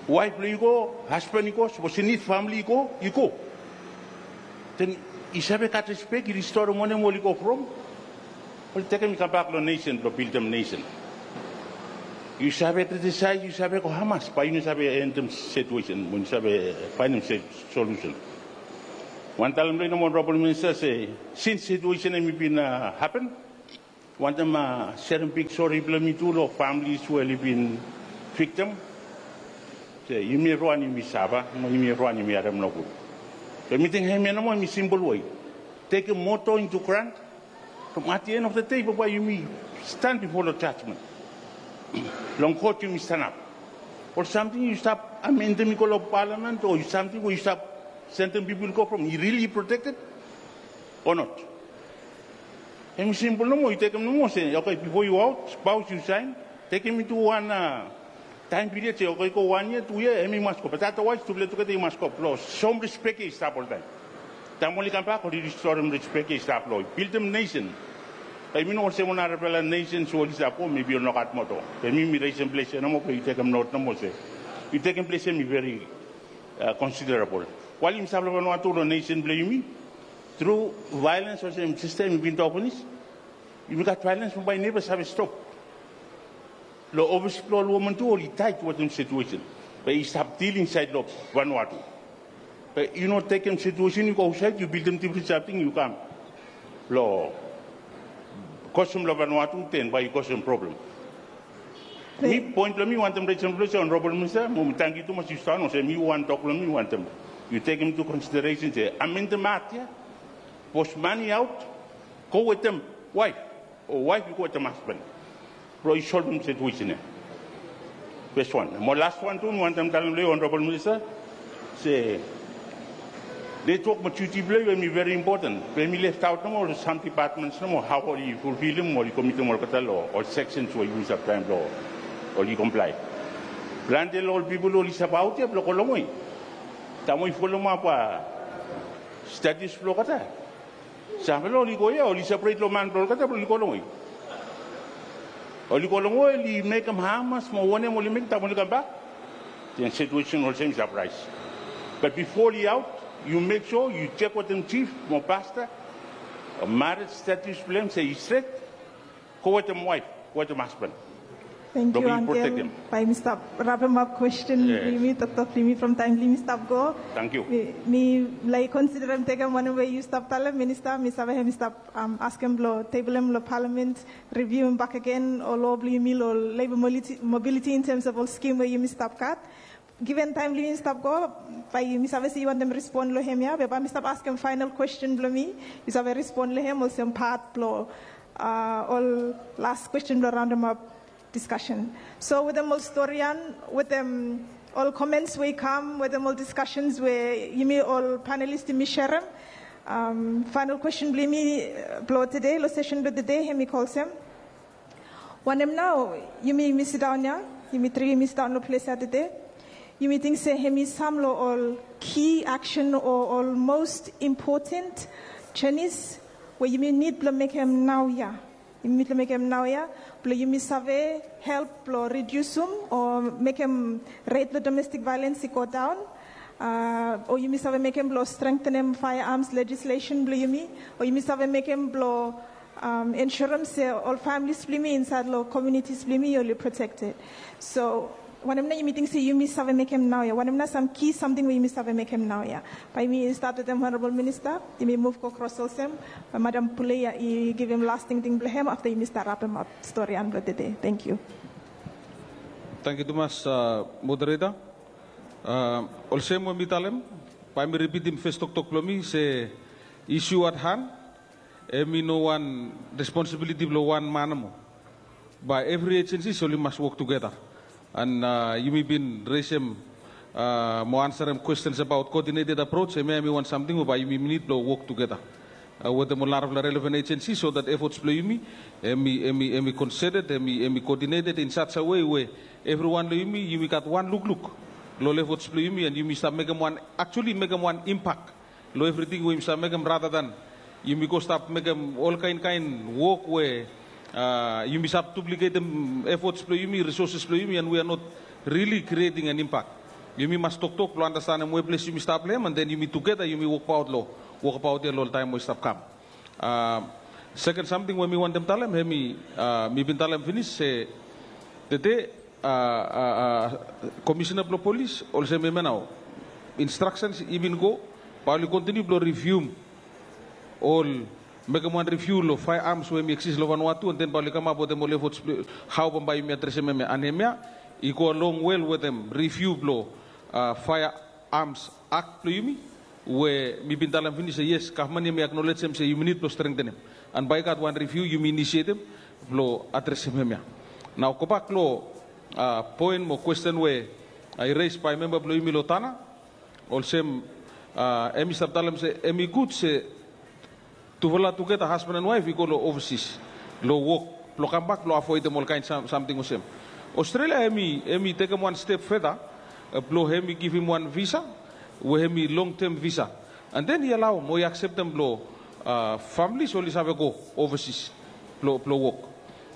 waef blong yu go, hasban i go, sapos i nid famili i go, i go. Den i save gat respek, i ristorem wanem we oli go from. Oli tekem i kambak long nesen blong bildim nesen. Yu save kritisias, yu save go hamas, bae yu no save endem situesen, mo yu save faenem solusen. Wan talem blong yu nomo, Honorable Minister, se sins situesen hemi bin hapen, wantem serem big sori blong mi tu long familis we oli bin viktim. Se yumi evriwan yumi save, mo yumi evriwan yumi harem nogud. Be mi ting hemia nomo hemi simpol wei. Tekem moto into grant. From at the end of the day, bambae yumi stand bifo long jajmen. Long kot yumi stanap. Ol samting yu stap amendem i go long palamen, o samting we yu stap sendem pipol i go from, i rili protekted o not? Hemi simpol nomo, yu tekem nomo se, oke, bifo yu aot, spaos yu saen, tekem into wan taem piriod se, oke, i go wan yia, tu yia, hemi mas go. Be otherwise tufala tugeta i mas go blong soem rispek ia i stap oltaem. Taem oli kambak oli ristorem rispek ia i stap blong bildim nesen. Be yumi no olsem wan narafala nesens we oli stap go, mebi oli no gat moto. Be mi mi resem ples ia nomo, be yu tekem not nomo se yu tekem ples ia hemi veri considerable. While yumi stap long Vanuatu long nesen blong yumi, tru vaelens olsem sista yumi bin tok finis, yumi gat vaelens bambae i neva save stop. Long ofis blong ol woman tu oli taet wetem situesen. Be i stap stil insaed long Vanuatu. Be yu no tekem situesen yu go aotsaed, yu bildim difren samting, yu kam long kosem long Vanuatu, den bae yu kosem problem. Mi, poen blong mi wantem resem blong se, Honorable Minister, mo mi tangkiu tumas yu stap, olsem mi wan tok blong mi wantem yu tekem into consideration se amendem Act ia, sapos man i aot, go wetem waef, o waef i go wetem hasban blong i solvem situesen ia. Fes wan. Mo las wan tu mi wantem talem long yu, Honorable Minister, se netwok mo duti blong yu hemi veri impoten. Be hemi left aot nomo long sam dipatmens nomo, hao oli fulfilem, oli komitem olgeta long ol seksens we yumi save traem blong oli komplae. Plante long ol pipol oli save aot ia blong go longwe. Taem we yu folomap status blong olgeta, samfala oli go ia, oli seperet long man blong olgeta blong oli go longwe. Oli go longwe, oli mekem hamas mo wanem oli mekem, taem oli kambak, den situesen olsem i save raes. Be bifo oli aot, yu mek sua yu jek wetem jif mo pasta, mared status blong hem se i stret, go wetem waef, go wetem hasban. Tangkiu, Ankel. Bae yumi stap rapemap kwesten blong yumi, toktok blong yumi from taem blong yumi stap go. Tangkiu. Mi laik konsiderem tekem wanem we yu stap talem, Minista, mi save hemi stap askem blong tebelem long Palamen, riviuem bakegen ol loa blong yumi long leba mobiliti in tems of ol skim we yumi stap gat. Given taem blong yumi stap go, bae yumi save se yu wantem respon long hemia, be bae mi stap askem faenol kwesten blong mi, yu save respon long hem olsem pat blong ol las kwesten blong raondemap diskasen. So wetem ol storian, wetem ol komens we i kam, wetem ol diskasens we yumi ol panelis yumi serem, faenol kwesten blong yumi blong tede, long sesen blong tede, hemi go olsem. Wanem nao yumi, yumi sidaon ia, yumi tri yumi sidaon long ples ia tede, yumi ting se hemi sam long ol ki aksen o ol mos impoten jenis we yumi nid blong mekem naoia. Yumi nid blong mekem naoia blong yumi save help blong ridiusum o mekem ret blong domestik vaelens i go daon, o yumi save mekem blong strengtenem faearms lejislesen blong yumi, o yumi save mekem blong ensurem se ol familis blong yumi insaed long komunitis blong yumi oli protekted. So wanem nao yumi ting se yumi save mekem naoia? Wanem nao sam ki samting we yumi save mekem naoia? Bae yumi stat wetem Honorable Minista, yumi muv go kros olsem, bae Madam Puleya i givim las tingting blong hem afta yumi stap rapemap storian blong tede. Tangkiu. Tangkiu tumas, Moderator. Olsem we mi talem, bae mi ripitim fes toktok blong mi se issue at hand hemi no wan responsibiliti blong wan man nomo. Bae evri ejensis oli mas wok tugeta. And yumi bin resem mo ansarem kwestens abaot coordinated approach, hemia hemi wan samting we bae yumi nid blong wok tugeta wetem ol narafala relevan ejensis so that efforts blong yumi hemi, hemi, hemi concerted, hemi, hemi coordinated in such a way we evriwan long yumi, yumi gat wan lukluk long ol efforts blong yumi, and yumi stap mekem wan, actually mekem wan impak long evriting we yumi stap mekem, rather than yumi go stap mekem ol kaenkaen wok we yumi stap dupliketem efforts blong yumi, resources blong yumi, and we are not really creating an impact. Yumi mas toktok blong andastanem we ples yumi stap long hem, and then yumi tugeta yumi wokbaot long wokabaot ia long ol taem we i stap kam. Seken samting we mi wantem talem, hemi, mi bin talem finis se tede a, a, a, komisena blong polis, olsem hemia nao. Instructions i bin go, bae oli kontiniu blong rivium ol, mekem wan riviu long firearms we hemi eksis long Vanuatu, and then bae oli kamap wetem ol efforts blong hao bambae yumi adresem hemia. And hemia i go along well wetem riviu blong, a, Firearms Act blong yumi, we mi bin talem finis se yes, gavman hemi aknolejem se yumi nid blong strengtenem. And bae i gat wan riviu yumi inisietem blong adresem hemia. Nao gobak long, a, poen mo kwesten we, a, i res bae memba blong yumi long Tanna, olsem, a, hemi stap talem se hemi gud se tufala tugeta, husband and wife, i go long overseas long wok blong kambak blong avoedem ol kaen sam-, samting olsem. Australia hemi, hemi tekem wan step further, e, blong hemi givim wan visa we hemi long term visa. And then i alaoem o i akseptem blong, a, families oli save go overseas blong, blong wok.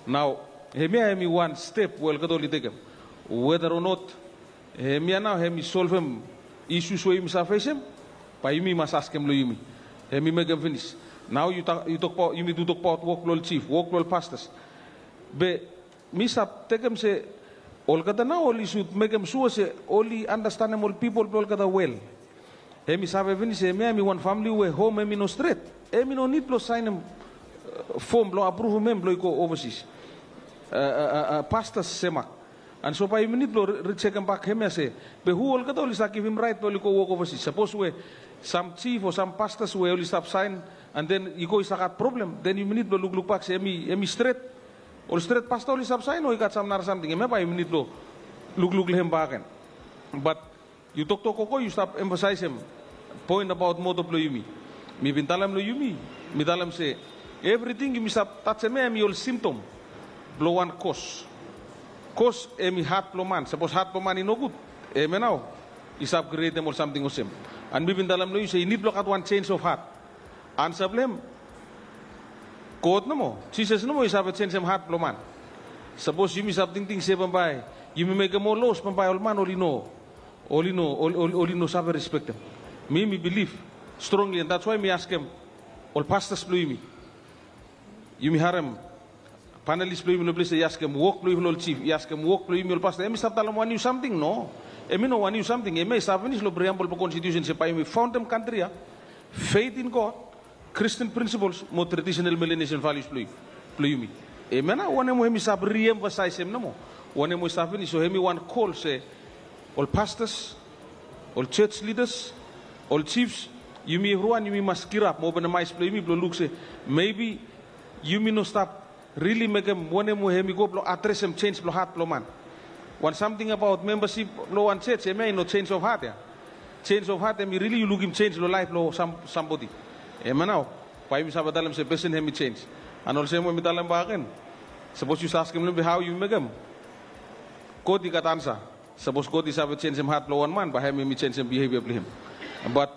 Nao hemia hemi wan step we olgeta oli tekem. Whether or not hemia nao hemi solvem issues we yumi save fesem, bae yumi mas askem long yumi. Hemi mekem finis. Nao yu ta-, yu tokbaot, yumi tu tokbaot wok blong ol chief, wok blong ol pastors. Be mi stap tekem se olgeta nao oli sud mekem sua se oli andastanem ol pipol blong olgeta well. Hemi save finis se hemia hemi wan famili we hom hemi no stret. Hemi no nid blong saenem, e, fom blong apruvum hem blong i go overseas. E, e, e, e, pastors semak. And so bae yumi nid blong ri-, rijekem bak hemia se, be hu olgeta oli stap givim raet blong oli go wok overseas? Sapos we sam chief o sam pastors we oli stap saen, and then i go i stap gat problem, then yumi nid blong lukluk bak se hemi, hemi stret. Ol stret pasta oli stap saen o i gat sam nara samting, hemia bae yumi nid blong lukluk long hem bakegen. But yu toktok gogo, yu stap emfasaesem poen abaot moto blong yumi. Mi bin talem long yumi, mi talem se evriting yumi stap tajem ia hemi ol simptom blong wan kos. Kos hemi hat blong man. Sapos hat blong man i nogud, hemia nao i stap krietem ol samting olsem. And mi bin talem long yu se i nid blong gat wan change of heart. Ansa blong hem, God nomo, Jisas nomo i save jenisim hat blong man. Sapos yumi save tingting se bambae yumi mekem ol los, bambae ol man oli no, oli no, oli, oli, oli no save respektem. Mi, mi bilif strongli, and that's why mi askem ol pastors blong yumi. Yumi harem panelis blong yumi long ples ia i askem wok blong yumi long ol chief, i askem wok blong yumi ol pasta. Hemi stap talem wan niu samting? No. Hemi no wan niu samting. Hemia i stap finis long priambol blong konstitusen se bae yumi faondem kantri ia, faith in God, Christian principles mo traditional Melanesian values blong, blong yumi. Hemia nao wanem we hemi stap riemfasaesem nomo. Wanem we i stap finis, so hemi wan kol se ol pastors, ol church leaders, ol chiefs, yumi evriwan yumi mas girap mo openem aes blong yumi blong luk se maybe yumi no stap rili mekem wanem we hemi go blong adresem jenis blong hat blong man. Wan samting abaot membership long wan church, hemia i no change of heart ia. Change of heart hemi rili yu lukim jenis long laef blong sam, sambodi. Hemia nao bae yumi save talem se pesen hemi jenis. And olsem we mi talem bakegen, sapos yu save askem long hem be hao yu mekem, God i gat ansa. Sapos God i save jenisim hat blong wan man, bae hem i jenisim bihevia blong hem. Bat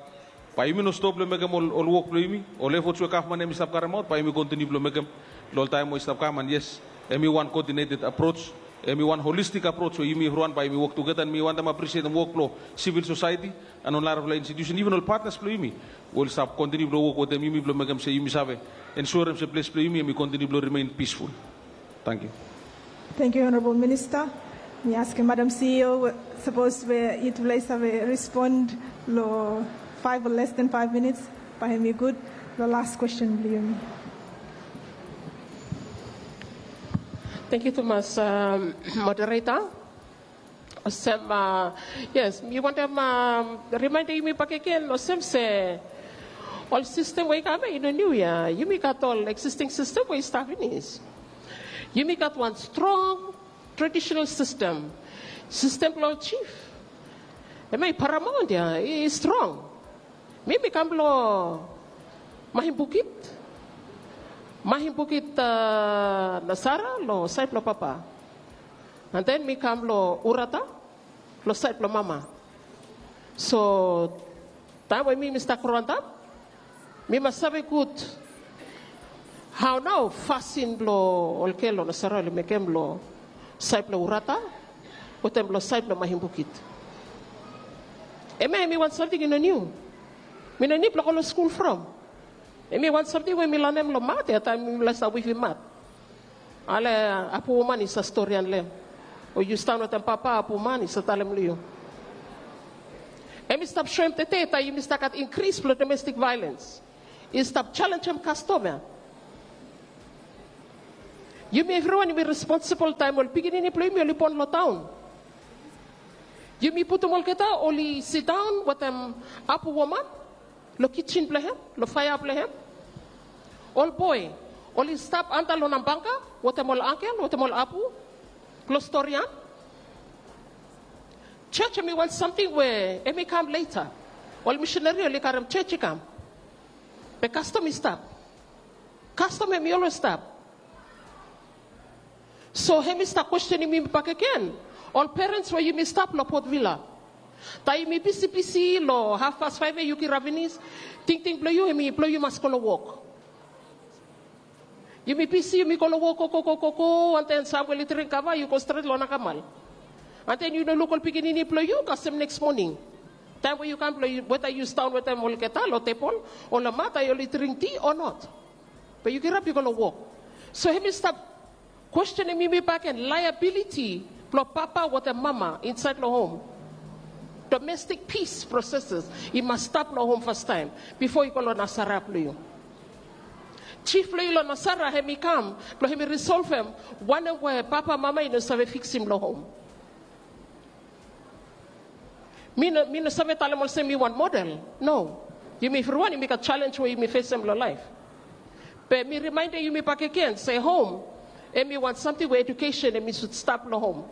bae yumi no stop long mekem ol, ol wok blong yumi, ol efforts we gavman hemi stap karemaot, bae yumi kontiniu blong mekem long ol taem we i stap kam. And yes, hemi wan coordinated approach, hemi wan holistic approach we yumi evriwan bae yumi wok tugeta. And mi wantem apresietem wok blong civil society and ol narafala institusen, iven ol partners blong yumi we oli stap kontiniu blong wok wetem yumi blong mekem se yumi save ensurem se ples blong yumi hemi kontiniu blong remain peaceful. Tangkiu. Tangkiu, Honorable Minister. Mi askem Madam C E O, sapos we yutufala i save respond long five or less than five minutes, bae hemi gud, long last question blong yumi. Tangkiu tumas, um, moderator. Olsem, a, yes, mi wantem, a, rimaendem yumi bakegen olsem se ol sistem we i kam ia i no niu ia. Yumi gat ol existing sistem we i stap finis. Yumi gat wan strong traditional sistem. Sistem blong ol chief, hemia i paramaon ia, i strong. Mi, mi kam long Mahimbukit. Mahimbukit, a, Nasara long saed blong papa. And then mi kam long Urata long saed blong mama. So taem we mi, mi stap gro antap, mi mas save gud hao nao fasin blong ol gel long Nasara oli mekem long saed blong Urata wetem long saed blong Mahimbukit. Hemia hemi wan samting i no niu. Mi no nid blong go long skul from. Hemi wan samting we mi lanem long mat ia, taem mi laes stap wivim mat. Ale apu woman i save storian long hem. O yu stap wetem papa, apu, man, i save talem long yu. Hemi stap soem tede taem yumi stap gat inkris blong domestik vaelens. I stap jalenjem kastom ya. Yumi evriwan yumi responsibol taem ol pikinini blong yumi oli bon long taon. Yumi putum olgeta oli sidaon wetem apu woman long kijin blong hem, long faea blong hem. Ol boe oli stap anta long nambanga wetem ol angkel, wetem ol apu long storian. Jos hemi wan samting we hemi kam leta. Ol misinari oli karem jos i kam. Be kastom i stap. Kastom hemi olwes stap. So hemi stap kwestenem yumi bakegen. Ol perens we yumi stap long Port Vila, taem yumi bisibisi long hafpas faef ya, yu kirap finis, tingting blong yu hemi blong yu mas go long wok. Yumi bisi, yumi go long wok, go, go, go, go, go, and then sam we oli dring kava, yu go stret long nakamal. And then yu no luk ol pikinini blong yu kasem neks moning. Taem we yu kam blong yu, weta yu sidaon wetem olgeta long tebol o long mat, taem oli dring ti o not. Be yu kirap yu go long wok. So hemi stap kwestenem yumi bakegen, liability blong papa wetem mama insaed long hom. Domestik pis proseses i mas stap long hom fastaem bifo i go long nasara blong yu. Jif blong yu long nasara hemi kam blong hemi risolvem wanem we papa, mama i no save fiksim long hom. Mi no, mi no save talem olsem mi wan model. No. Yumi evriwan yumi gat jalenj we yumi fesem long laef. Be mi rimaendem yumi bakegen se hom hemi wan samting we edukesen hemi sud stap long hom.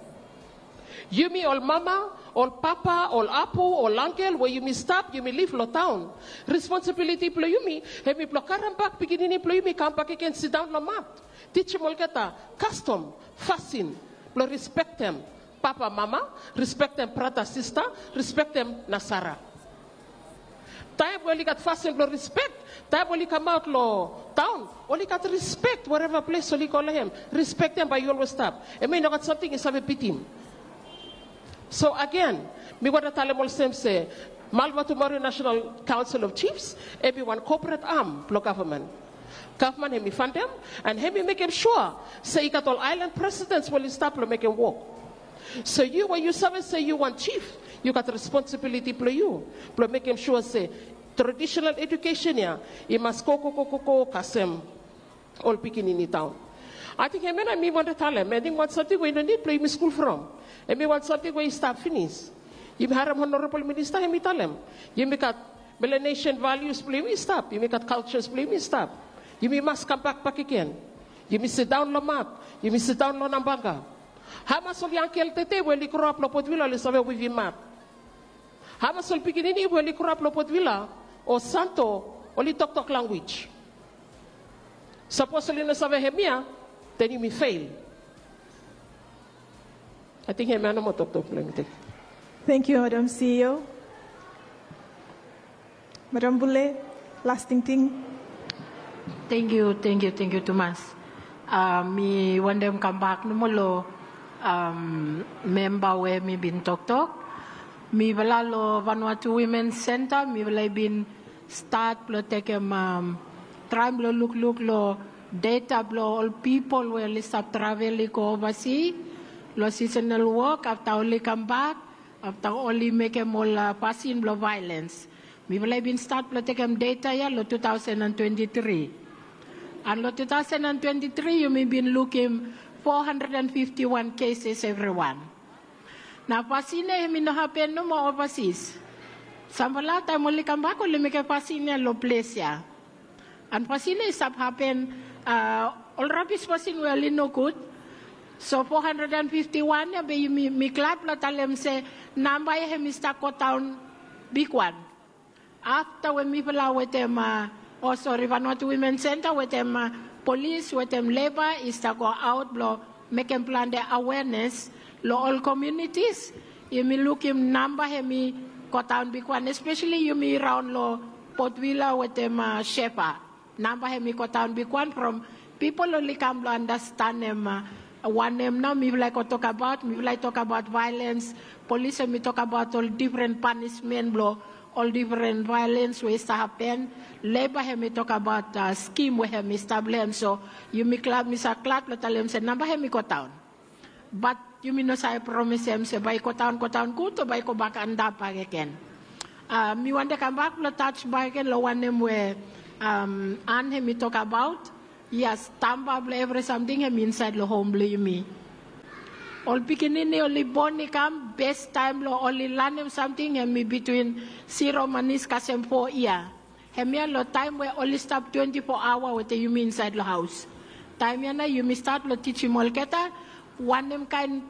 Yumi ol mama, ol papa, ol apu, ol angkel we yumi stap, yumi liv long taon, responsibiliti blong yumi hemi blong karembak pikinini blong yumi kambak agen sidaon long mat. Tijim olgeta kastom, fasin blong rispektem papa, mama, rispektem brata, sista, rispektem nasara. Taem we oli gat fasin blong rispek, taem we oli kamaot long taon, oli gat rispek wereva ples oli go long hem. Rispek ya bae i olwes stap. Hemia i no gat samting i save bitim. So agen, mi wantem talem olsem se Ma'levatumari National Council of Chiefs hemi wan corporate arm blong gavman. Gavman hemi fandem and hemi mekem sua se i gat ol aelan presidents we oli stap blong mekem wok. So yu we yu save se yu wan jif, yu gat responsibiliti blong yu blong mekem sua se traditional edukesen ya i mas go, go, go, go, go kasem ol pikinini taon. Ating hemia nao mi wantem talem, ating wan samting we i no nid blong yumi skul from. Hemi wan samting we i stap finis. Yumi harem Honorabol Minista hemi talem yumi gat Melanesian valius blong yumi i stap, yumi gat kaljas blong yumi i stap. Yumi mas kambak bakegen. Yumi sidaon long mat, yumi sidaon long nambanga. Hamas ol yangkel tede we oli groap long Port Vila oli save wevim mat? Hamas ol pikinini we oli groap long Port Vila o Santo oli toktok lanwis? Sapos oli no save hemia, then yumi fel. Ating hemia nomo toktok blong mi. Tangkiu. Tangkiu, Madam CEO. Madam Bule, las tingting. Tangkiu, tangkiu, tangkiu tumas. A, mi wantem kambak nomo long, am, memba we hemi bin toktok. Mifala long Vanuatu Women Centre, mifala i bin stat blong tekem, am, traem blong lukluk long deta blong ol pipol we oli stap travel i go ovasi long seasonal wok, afta oli kambak, afta oli mekem ol, a, fasin blong vaelens. Mifala i bin stat blong tekem deta ya long two thousand and twenty-three. And long two thousand and twenty-three yumi bin lukim four hundred and fifty-one cases, evriwan. Nao fasin ya hemi no hapen nomo ovasis. Samfala taem oli kambak oli mekem fasin ya long ples ya. And fasin ya i stap hapen, a, ol rabis fasin we oli nogud. So four hundred and fifty-one ya, be mi, mi glad blong talem se namba ya hemi stap godaon bigwan. Afta we mifala wetem, a, o sori, Vanuatu Women Centre wetem, a, polis wetem leba i stap goaot blong mekem plante awenes long ol komiunitis, yumi lukim namba hemi godaon bigwan, espeseli yumi raon long Port Vila wetem, a, Shefa. Namba hemi godaon bigwan from pipol oli kam blong andastanem, a, wanem nao mifala i go tokbaot, mifala i tokbaot vaelens, polis hemi tokbaot ol difren panismen blong ol difren vaelens we i stap hapen, leba hemi tokbaot, a, skim we hemi stap long hem. So yumi glad, mi sa glad blong talem se namba hemi godaon. Bat yumi no save promisem se bae i godaon godaon gud o bae i gobak antap bakegen. Mi wantem kambak blong tas bakegen long wanem we an hem i tokabaot. Yes, tamba blong evri samting hem i insaed long hom blong yumi. Ol pikinini oli bon i kam, bes taem blong oli lanem samting hem i bitwin zero manis kasem fo yia. Hemia long taem we oli stap twenti fo aoa wetem yumi insaed long haos. Taem ya nao yumi stat long tijim olgeta wanem kaen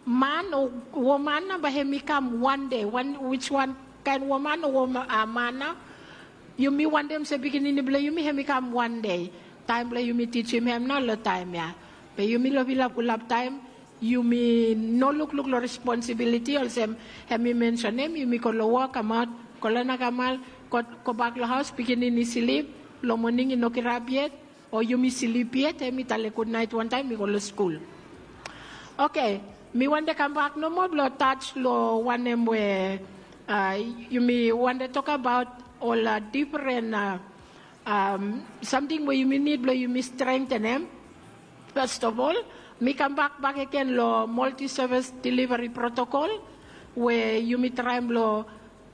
man o woman nao bae hem i kam wan dei, wan, wiswan kaen woman o woman, a, man nao. Yumi wantem se pikinini blong yumi hem i kam wan dei. Taem blong yumi tijim hem nao long taem ya. Be yumi long filap fulap taem yumi no lukluk long responsibiliti olsem hem i mensenem yumi go long wok kamaot, go long nakamal, go, gobak long haos, pikinini slip, long moning i no kirap yet, o yumi slip yet, hem i talem gudnaet wantaem i go long skul. Oke, mi wantem kambak nomo blong tas long wanem we, a, yumi wantem tokabaot ol, a, difren, a, samting we yumi nid blong yumi strengtenem. Fes of ol, mi kambak bakegen long multi service delivery protokol we yumi traem blong,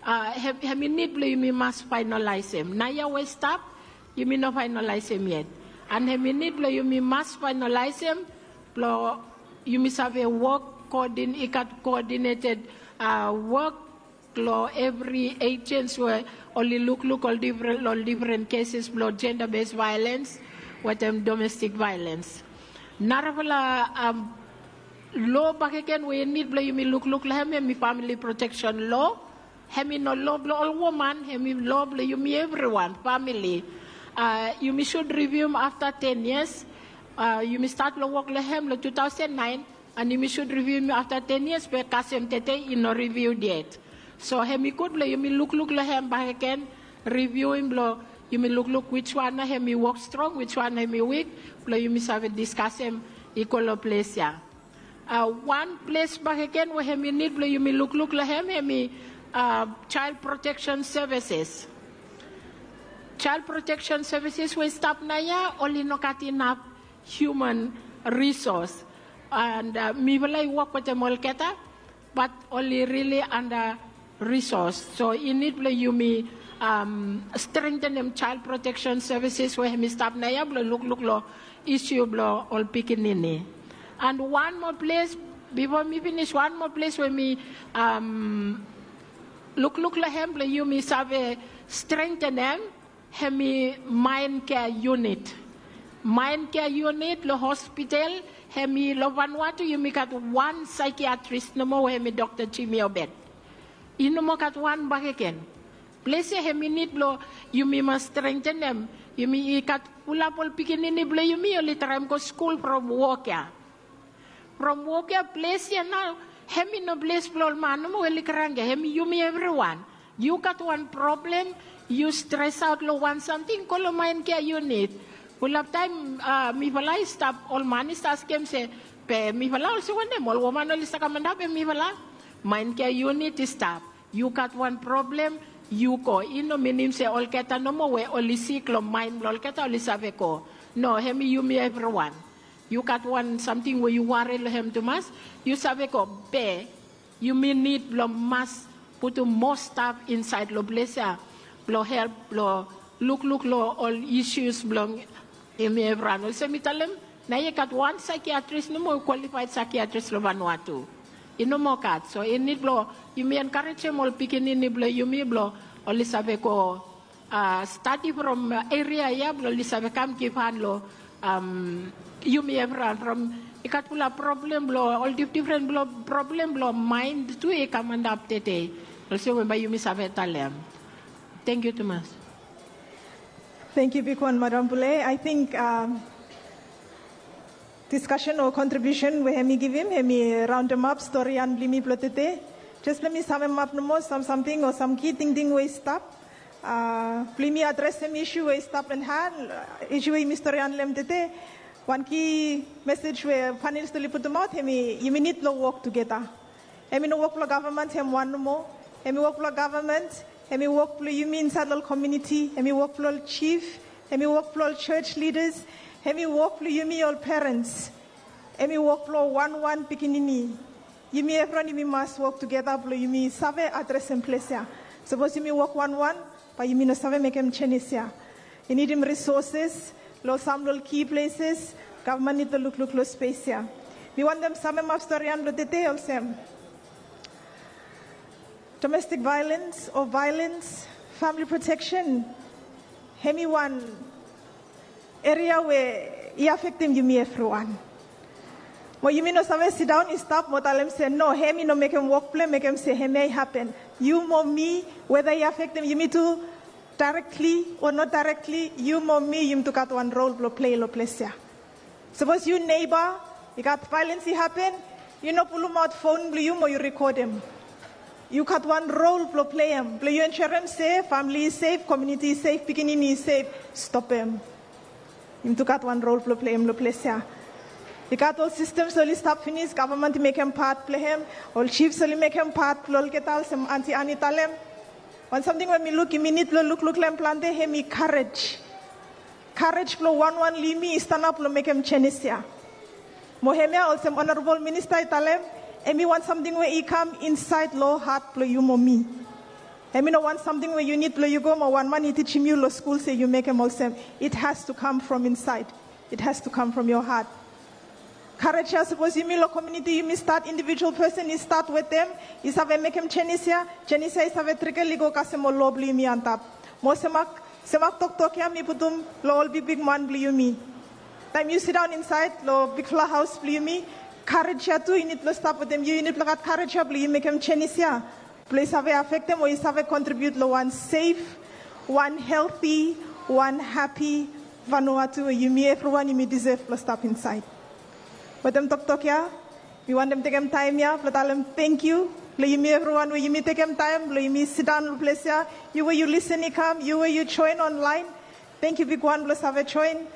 a, hem, hem i nid blong yumi mas faenalaesem. Naoia we i stap yumi no faenalaesem yet. An hem i nid blong yumi mas faenalaesem blong yumi save wok koodin, i gat koodineted, a, wok long evri ejens we oli lukluk ol difren, ol difren keses blong jenda bes vaelens wetem domestik vaelens. Narafala, a, loa bakegen we i nid blong yumi lukluk long hem, hem i famili proteksen loa. Hem i no loa blong ol woman, hem i loa blong yumi evriwan, famili. A, yumi sud rivium afta ten yias. A, yumi stat long wok long hem long tu taosen naen, an yumi sud rivium afta ten yias be kasem tede i no riviud yet. So hem i gud blong yumi lukluk long hem bakegen, rivium blong yumi lukluk wiswan nao hem i wok strong, wiswan nao hem i wik, blong yumi save diskasem i go long ples ya. A, wan ples bakegen we hem i nid blong yumi lukluk long hem, hem i, a, Child Protection Services. Child Protection Services we i stap naoia oli no gat inap hiuman risos. An, a, mifala i wok wetem olgeta, bat oli rili anda risos. So i nid blong yumi, a, strengtenem Child Protection Services we hem i stap naoia blong lukluk long isiu blong ol pikinini. An wan moa ples, bifo mi finis, wan moa ples we mi, a, lukluk long hem blong yumi save strengtenem, hem i Mind Care Unit. Mind Care Unit long hospital, hem i long Vanuatu yumi gat wan saikiatris nomo we hem i Dokta Jimmy Obed. I no moa gat wan bakegen. Ples ya hem i nid blong yumi mas strengtenem. Yumi i gat fulap ol pikinini blong yumi oli traem go skul from wok ya. From wok ya, ples ya nao hem i no ples blong ol man nomo we oli kranki ya, hem i yumi evriwan. Yu gat wan problem, yu stresaot long wan samting, go long Mind Care Unit. Fulap taem, a, mifala i stap, ol man i stap askem se, be mifala olsem wanem, ol woman oli stap kam antap, be mifala. Mind Care Unit i stap. Yu gat wan problem, yu go. I no minim se olgeta nomo we oli sik long maen blong olgeta oli save go. No, hem i yumi evriwan. Yu gat wan samting we yu wari long hem tumas, yu save go, be yumi nid blong mas putum moa staf insaed long ples ya blong help blong lukluk long ol isius blong yumi evriwan. Olsem mi talem, naoia i gat wan saikiatris nomo, kwalifaed saikiatris long Vanuatu. I no moa gat. So i nid blong yumi enkarejem ol pikinini blong yumi blong oli save go, a, stadi from, a, eria ya blong oli save kam givhan long, am, yumi evriwan from i gat fulap problem blong ol dif-, difren blong problem blong maen tu i kam antap tede. Olsem we bae yumi save talem. Tangkiu tumas. Tangkiu bigwan, Madam Pule. Ating, am, diskasen o kontribiusen we hem i givim, hem i raondemap storian blong yumi blong tede. Jes blong mi samemap nomo sam samting o sam ki tingting we i stap. A, blong yumi adresem isu we i stap long han, isu we yumi storian long hem tede. Wan ki mesej we panelist oli putumaot, hem i yumi nid blong wok tugeta. Hem i no wok blong gavman hem wan nomo. Hem i wok blong gavman, hem i wok blong yumi insaed long ol komuniti, hem i wok blong ol jif, hem i wok blong ol jos lidas, hem i wok blong yumi ol perens. Em i wok blong wanwan pikinini. Yumi evriwan yumi mas wok tugeta blong yumi save adresem ples ya. Sapos yumi wok wanwan, bae yumi no save mekem jenis ya. I nidim risoses long sam long ol ki pleses. Gavman nid blong lukluk long spes ya. Mi wantem samemap storian blong tede olsem, domestik vaelens o vaelens, famili proteksen, hem i wan eria we i afektem yumi evriwan. Mo yumi no save sidaon i stap mo talem se no, hem i no mekem wok blong hem, mekem se hemia i hapen. Yu mo mi, weda i afektem yumi tu daerekli o no daerekli, yu mo mi yumi tu gat wan rol blong plei long ples ya. Sapos yu neiba i gat vaelens i hapen, yu no pulumaot fon blong yu mo yu rekodem. Yu gat wan rol blong pleim blong yu ensurem se famili i sef, komuniti i sef, pikinini i sef. Stopem. Yumi tu gat wan rol blong pleim long ples ya. I gat ol sistems oli stap finis, gavman i mekem pat blong hem, ol jifs oli mekem pat blong olgeta olsem Anti Ani i talem. Wan samting we mi luk yumi nid blong lukluk long hem plante, hem i karej. Karej blong wanwan long yumi i stanap blong mekem jenis ya. Mo hemia olsem Onorabol Minista i talem, hem i wan samting we i kam insaed long hat blong yu mo mi. Hem i no wan samting we yu nid blong yu go mo wan man i tijim yu long skul se yu mekem olsem. It has to come from inside. It has to come from your heart. Karej ya sapos yumi long komuniti yumi stat, indivijual pesen i stat wetem, i save mekem jenis ya, jenis ya i save trikel i go kasem ol lo blong yumi antap. Mo semak, semak toktok ya mi putum long ol bigbigman blong yumi. Taem yu sidaon insaed long bigfala haos blong yumi, karej ya tu i nid blong stap wetem yu, i nid blong gat karej ya blong yu mekem jenis ya. Blong i save afektem o i save kontribiut long wan sef, wan helti, wan hapi Vanuatu we yumi evriwan yumi disef blong stap insaed. Wetem toktok ya, mi wantem tekem taem ya blong talem tangkiu long yumi evriwan we yumi tekem taem blong yumi sidaon long ples ya. Yu we yu lisen i kam, yu we yu joen onlaen, tangkiu bigwan blong save joen.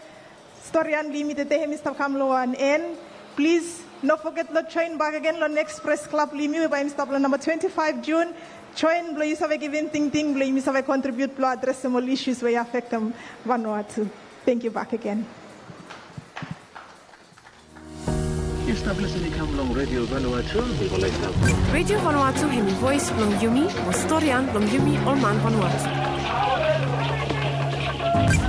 Storian blong yumi tede hem i stap kam long wan en. Plis no foget long joen bakegen long neks pres klab blong yumi we bae hem i stap long namba twenti faef Jun. Joen blong yu save givim tingting blong yumi save kontribiut blong adresem ol isus we i afektem Vanuatu. Tangkiu bakegen. Yu stap lisen i kam long Redio Vanuatu. Redio Vanuatu hem i voes blong yumi, mo storian blong yumi ol man Vanuatu.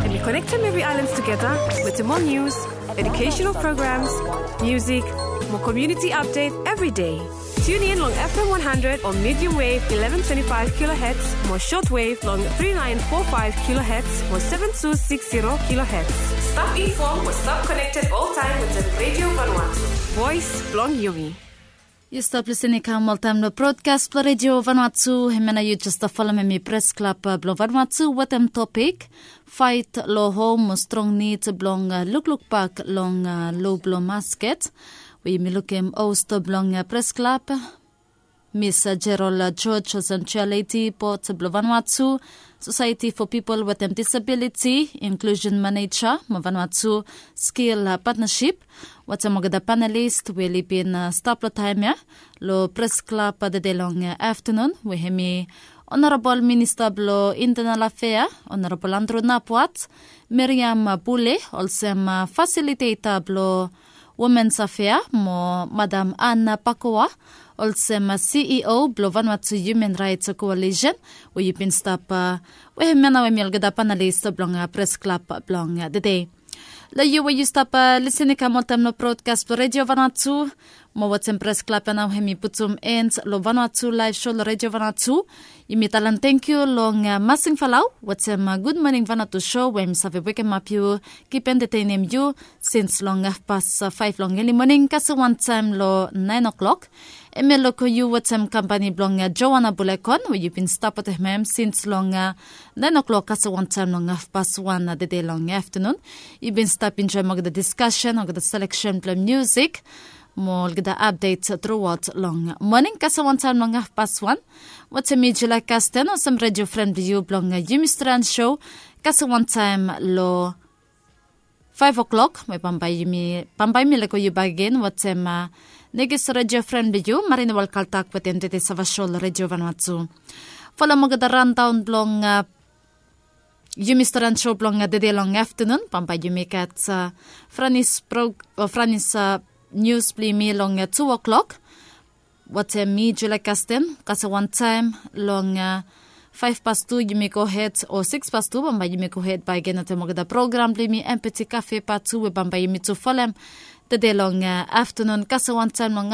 Hem i konektem evri aelan tugeta wetem ol nius, educational programs, musik, mo community update every day. Tune in long F M one hundred o medium wave eleven twenty-five kilohertz, mo shortwave long three nine four five kilohertz mo seven two six zero kilohertz. Stap inform mo stap connected oltaem wetem Redio Vanuatu. Voes blong yumi. Yu stap lisen i kam oltaem long brodkas blong Redio Vanuatu. Hemia nao yu jes stap folem hem i Pres Klab blong Vanuatu wetem topik Faet long hom mo strong nid blong lukluk bak long lo blong masket. We yumi lukim host blong Pres Klab, Mis Jerol George, olsem Chair Lady Bod blong Vanuatu Sosaeti fo Pipol wetem Disabiliti, Inklusen Maneja mo Vanuatu Skil Patnasip, wetem olgeta panelis we oli bin stap long taem ya long Pres Klab tede long aftanun, we hem i Onorabol Minista blong Intenal Afea, Onorabol Andrew Napuat, Miriam Bule olsem fasiliteta blong Womens Afea, mo Madam Anna Pakoa olsem C E O blong Vanuatu Human Rights Coalition, we yu bin stap, we hemia nao hem i olgeta panelis blong Pres Klab blong tede. Long yu we yu stap lisen i kam oltaem long brodkas blong Redio Vanuatu, mo wetem Pres Klab ya nao hem i putum en long Vanuatu Laev Sho long Redio Vanuatu. Yumi talem tangkiu long Masing Falau wetem Gud Moning Vanuatu Sho, we hem i save wekemap yu, kip entetenem yu sins long hafpas faef long eli moning kasem wantaem long naen oklok. Hemia long yu wetem kampani blong Joana Bulekon, we yu bin stap wetem hem sins long naen oklok kasem wantaem long hafpas wan tede long aftanun. Yu bin stap enjoem olgeta diskasen, olgeta seleksen blong musik mo olgeta apdet truaot long moning kasem wantaem long hafpas wan. Wetem mi Julia Kasten olsem redio fren blong yu blong Yumi Storian Sho kasem wantaem long faef oklok, we bambae yumi, bambae mi lego yu bakegen wetem nekis redio fren blong yu, Marina Welkaltak, wetem tede Sava Sho long Redio Vanuatu. Folem olgeta randaon blong Yumi Storian Sho blong tede long aftanun. Bambae yumi gat Franis Brok, o Franis nius blong yumi long tu o'klok. Watem mi Julia Kasten, kasem wantaem long faef pastu yumi gohed, o siks pastu bambae yumi gohed baegen watem olgeta program blong yumi, empeti kafe patu we bambae yumi tu folem tede long aftanun, kasem wantaem long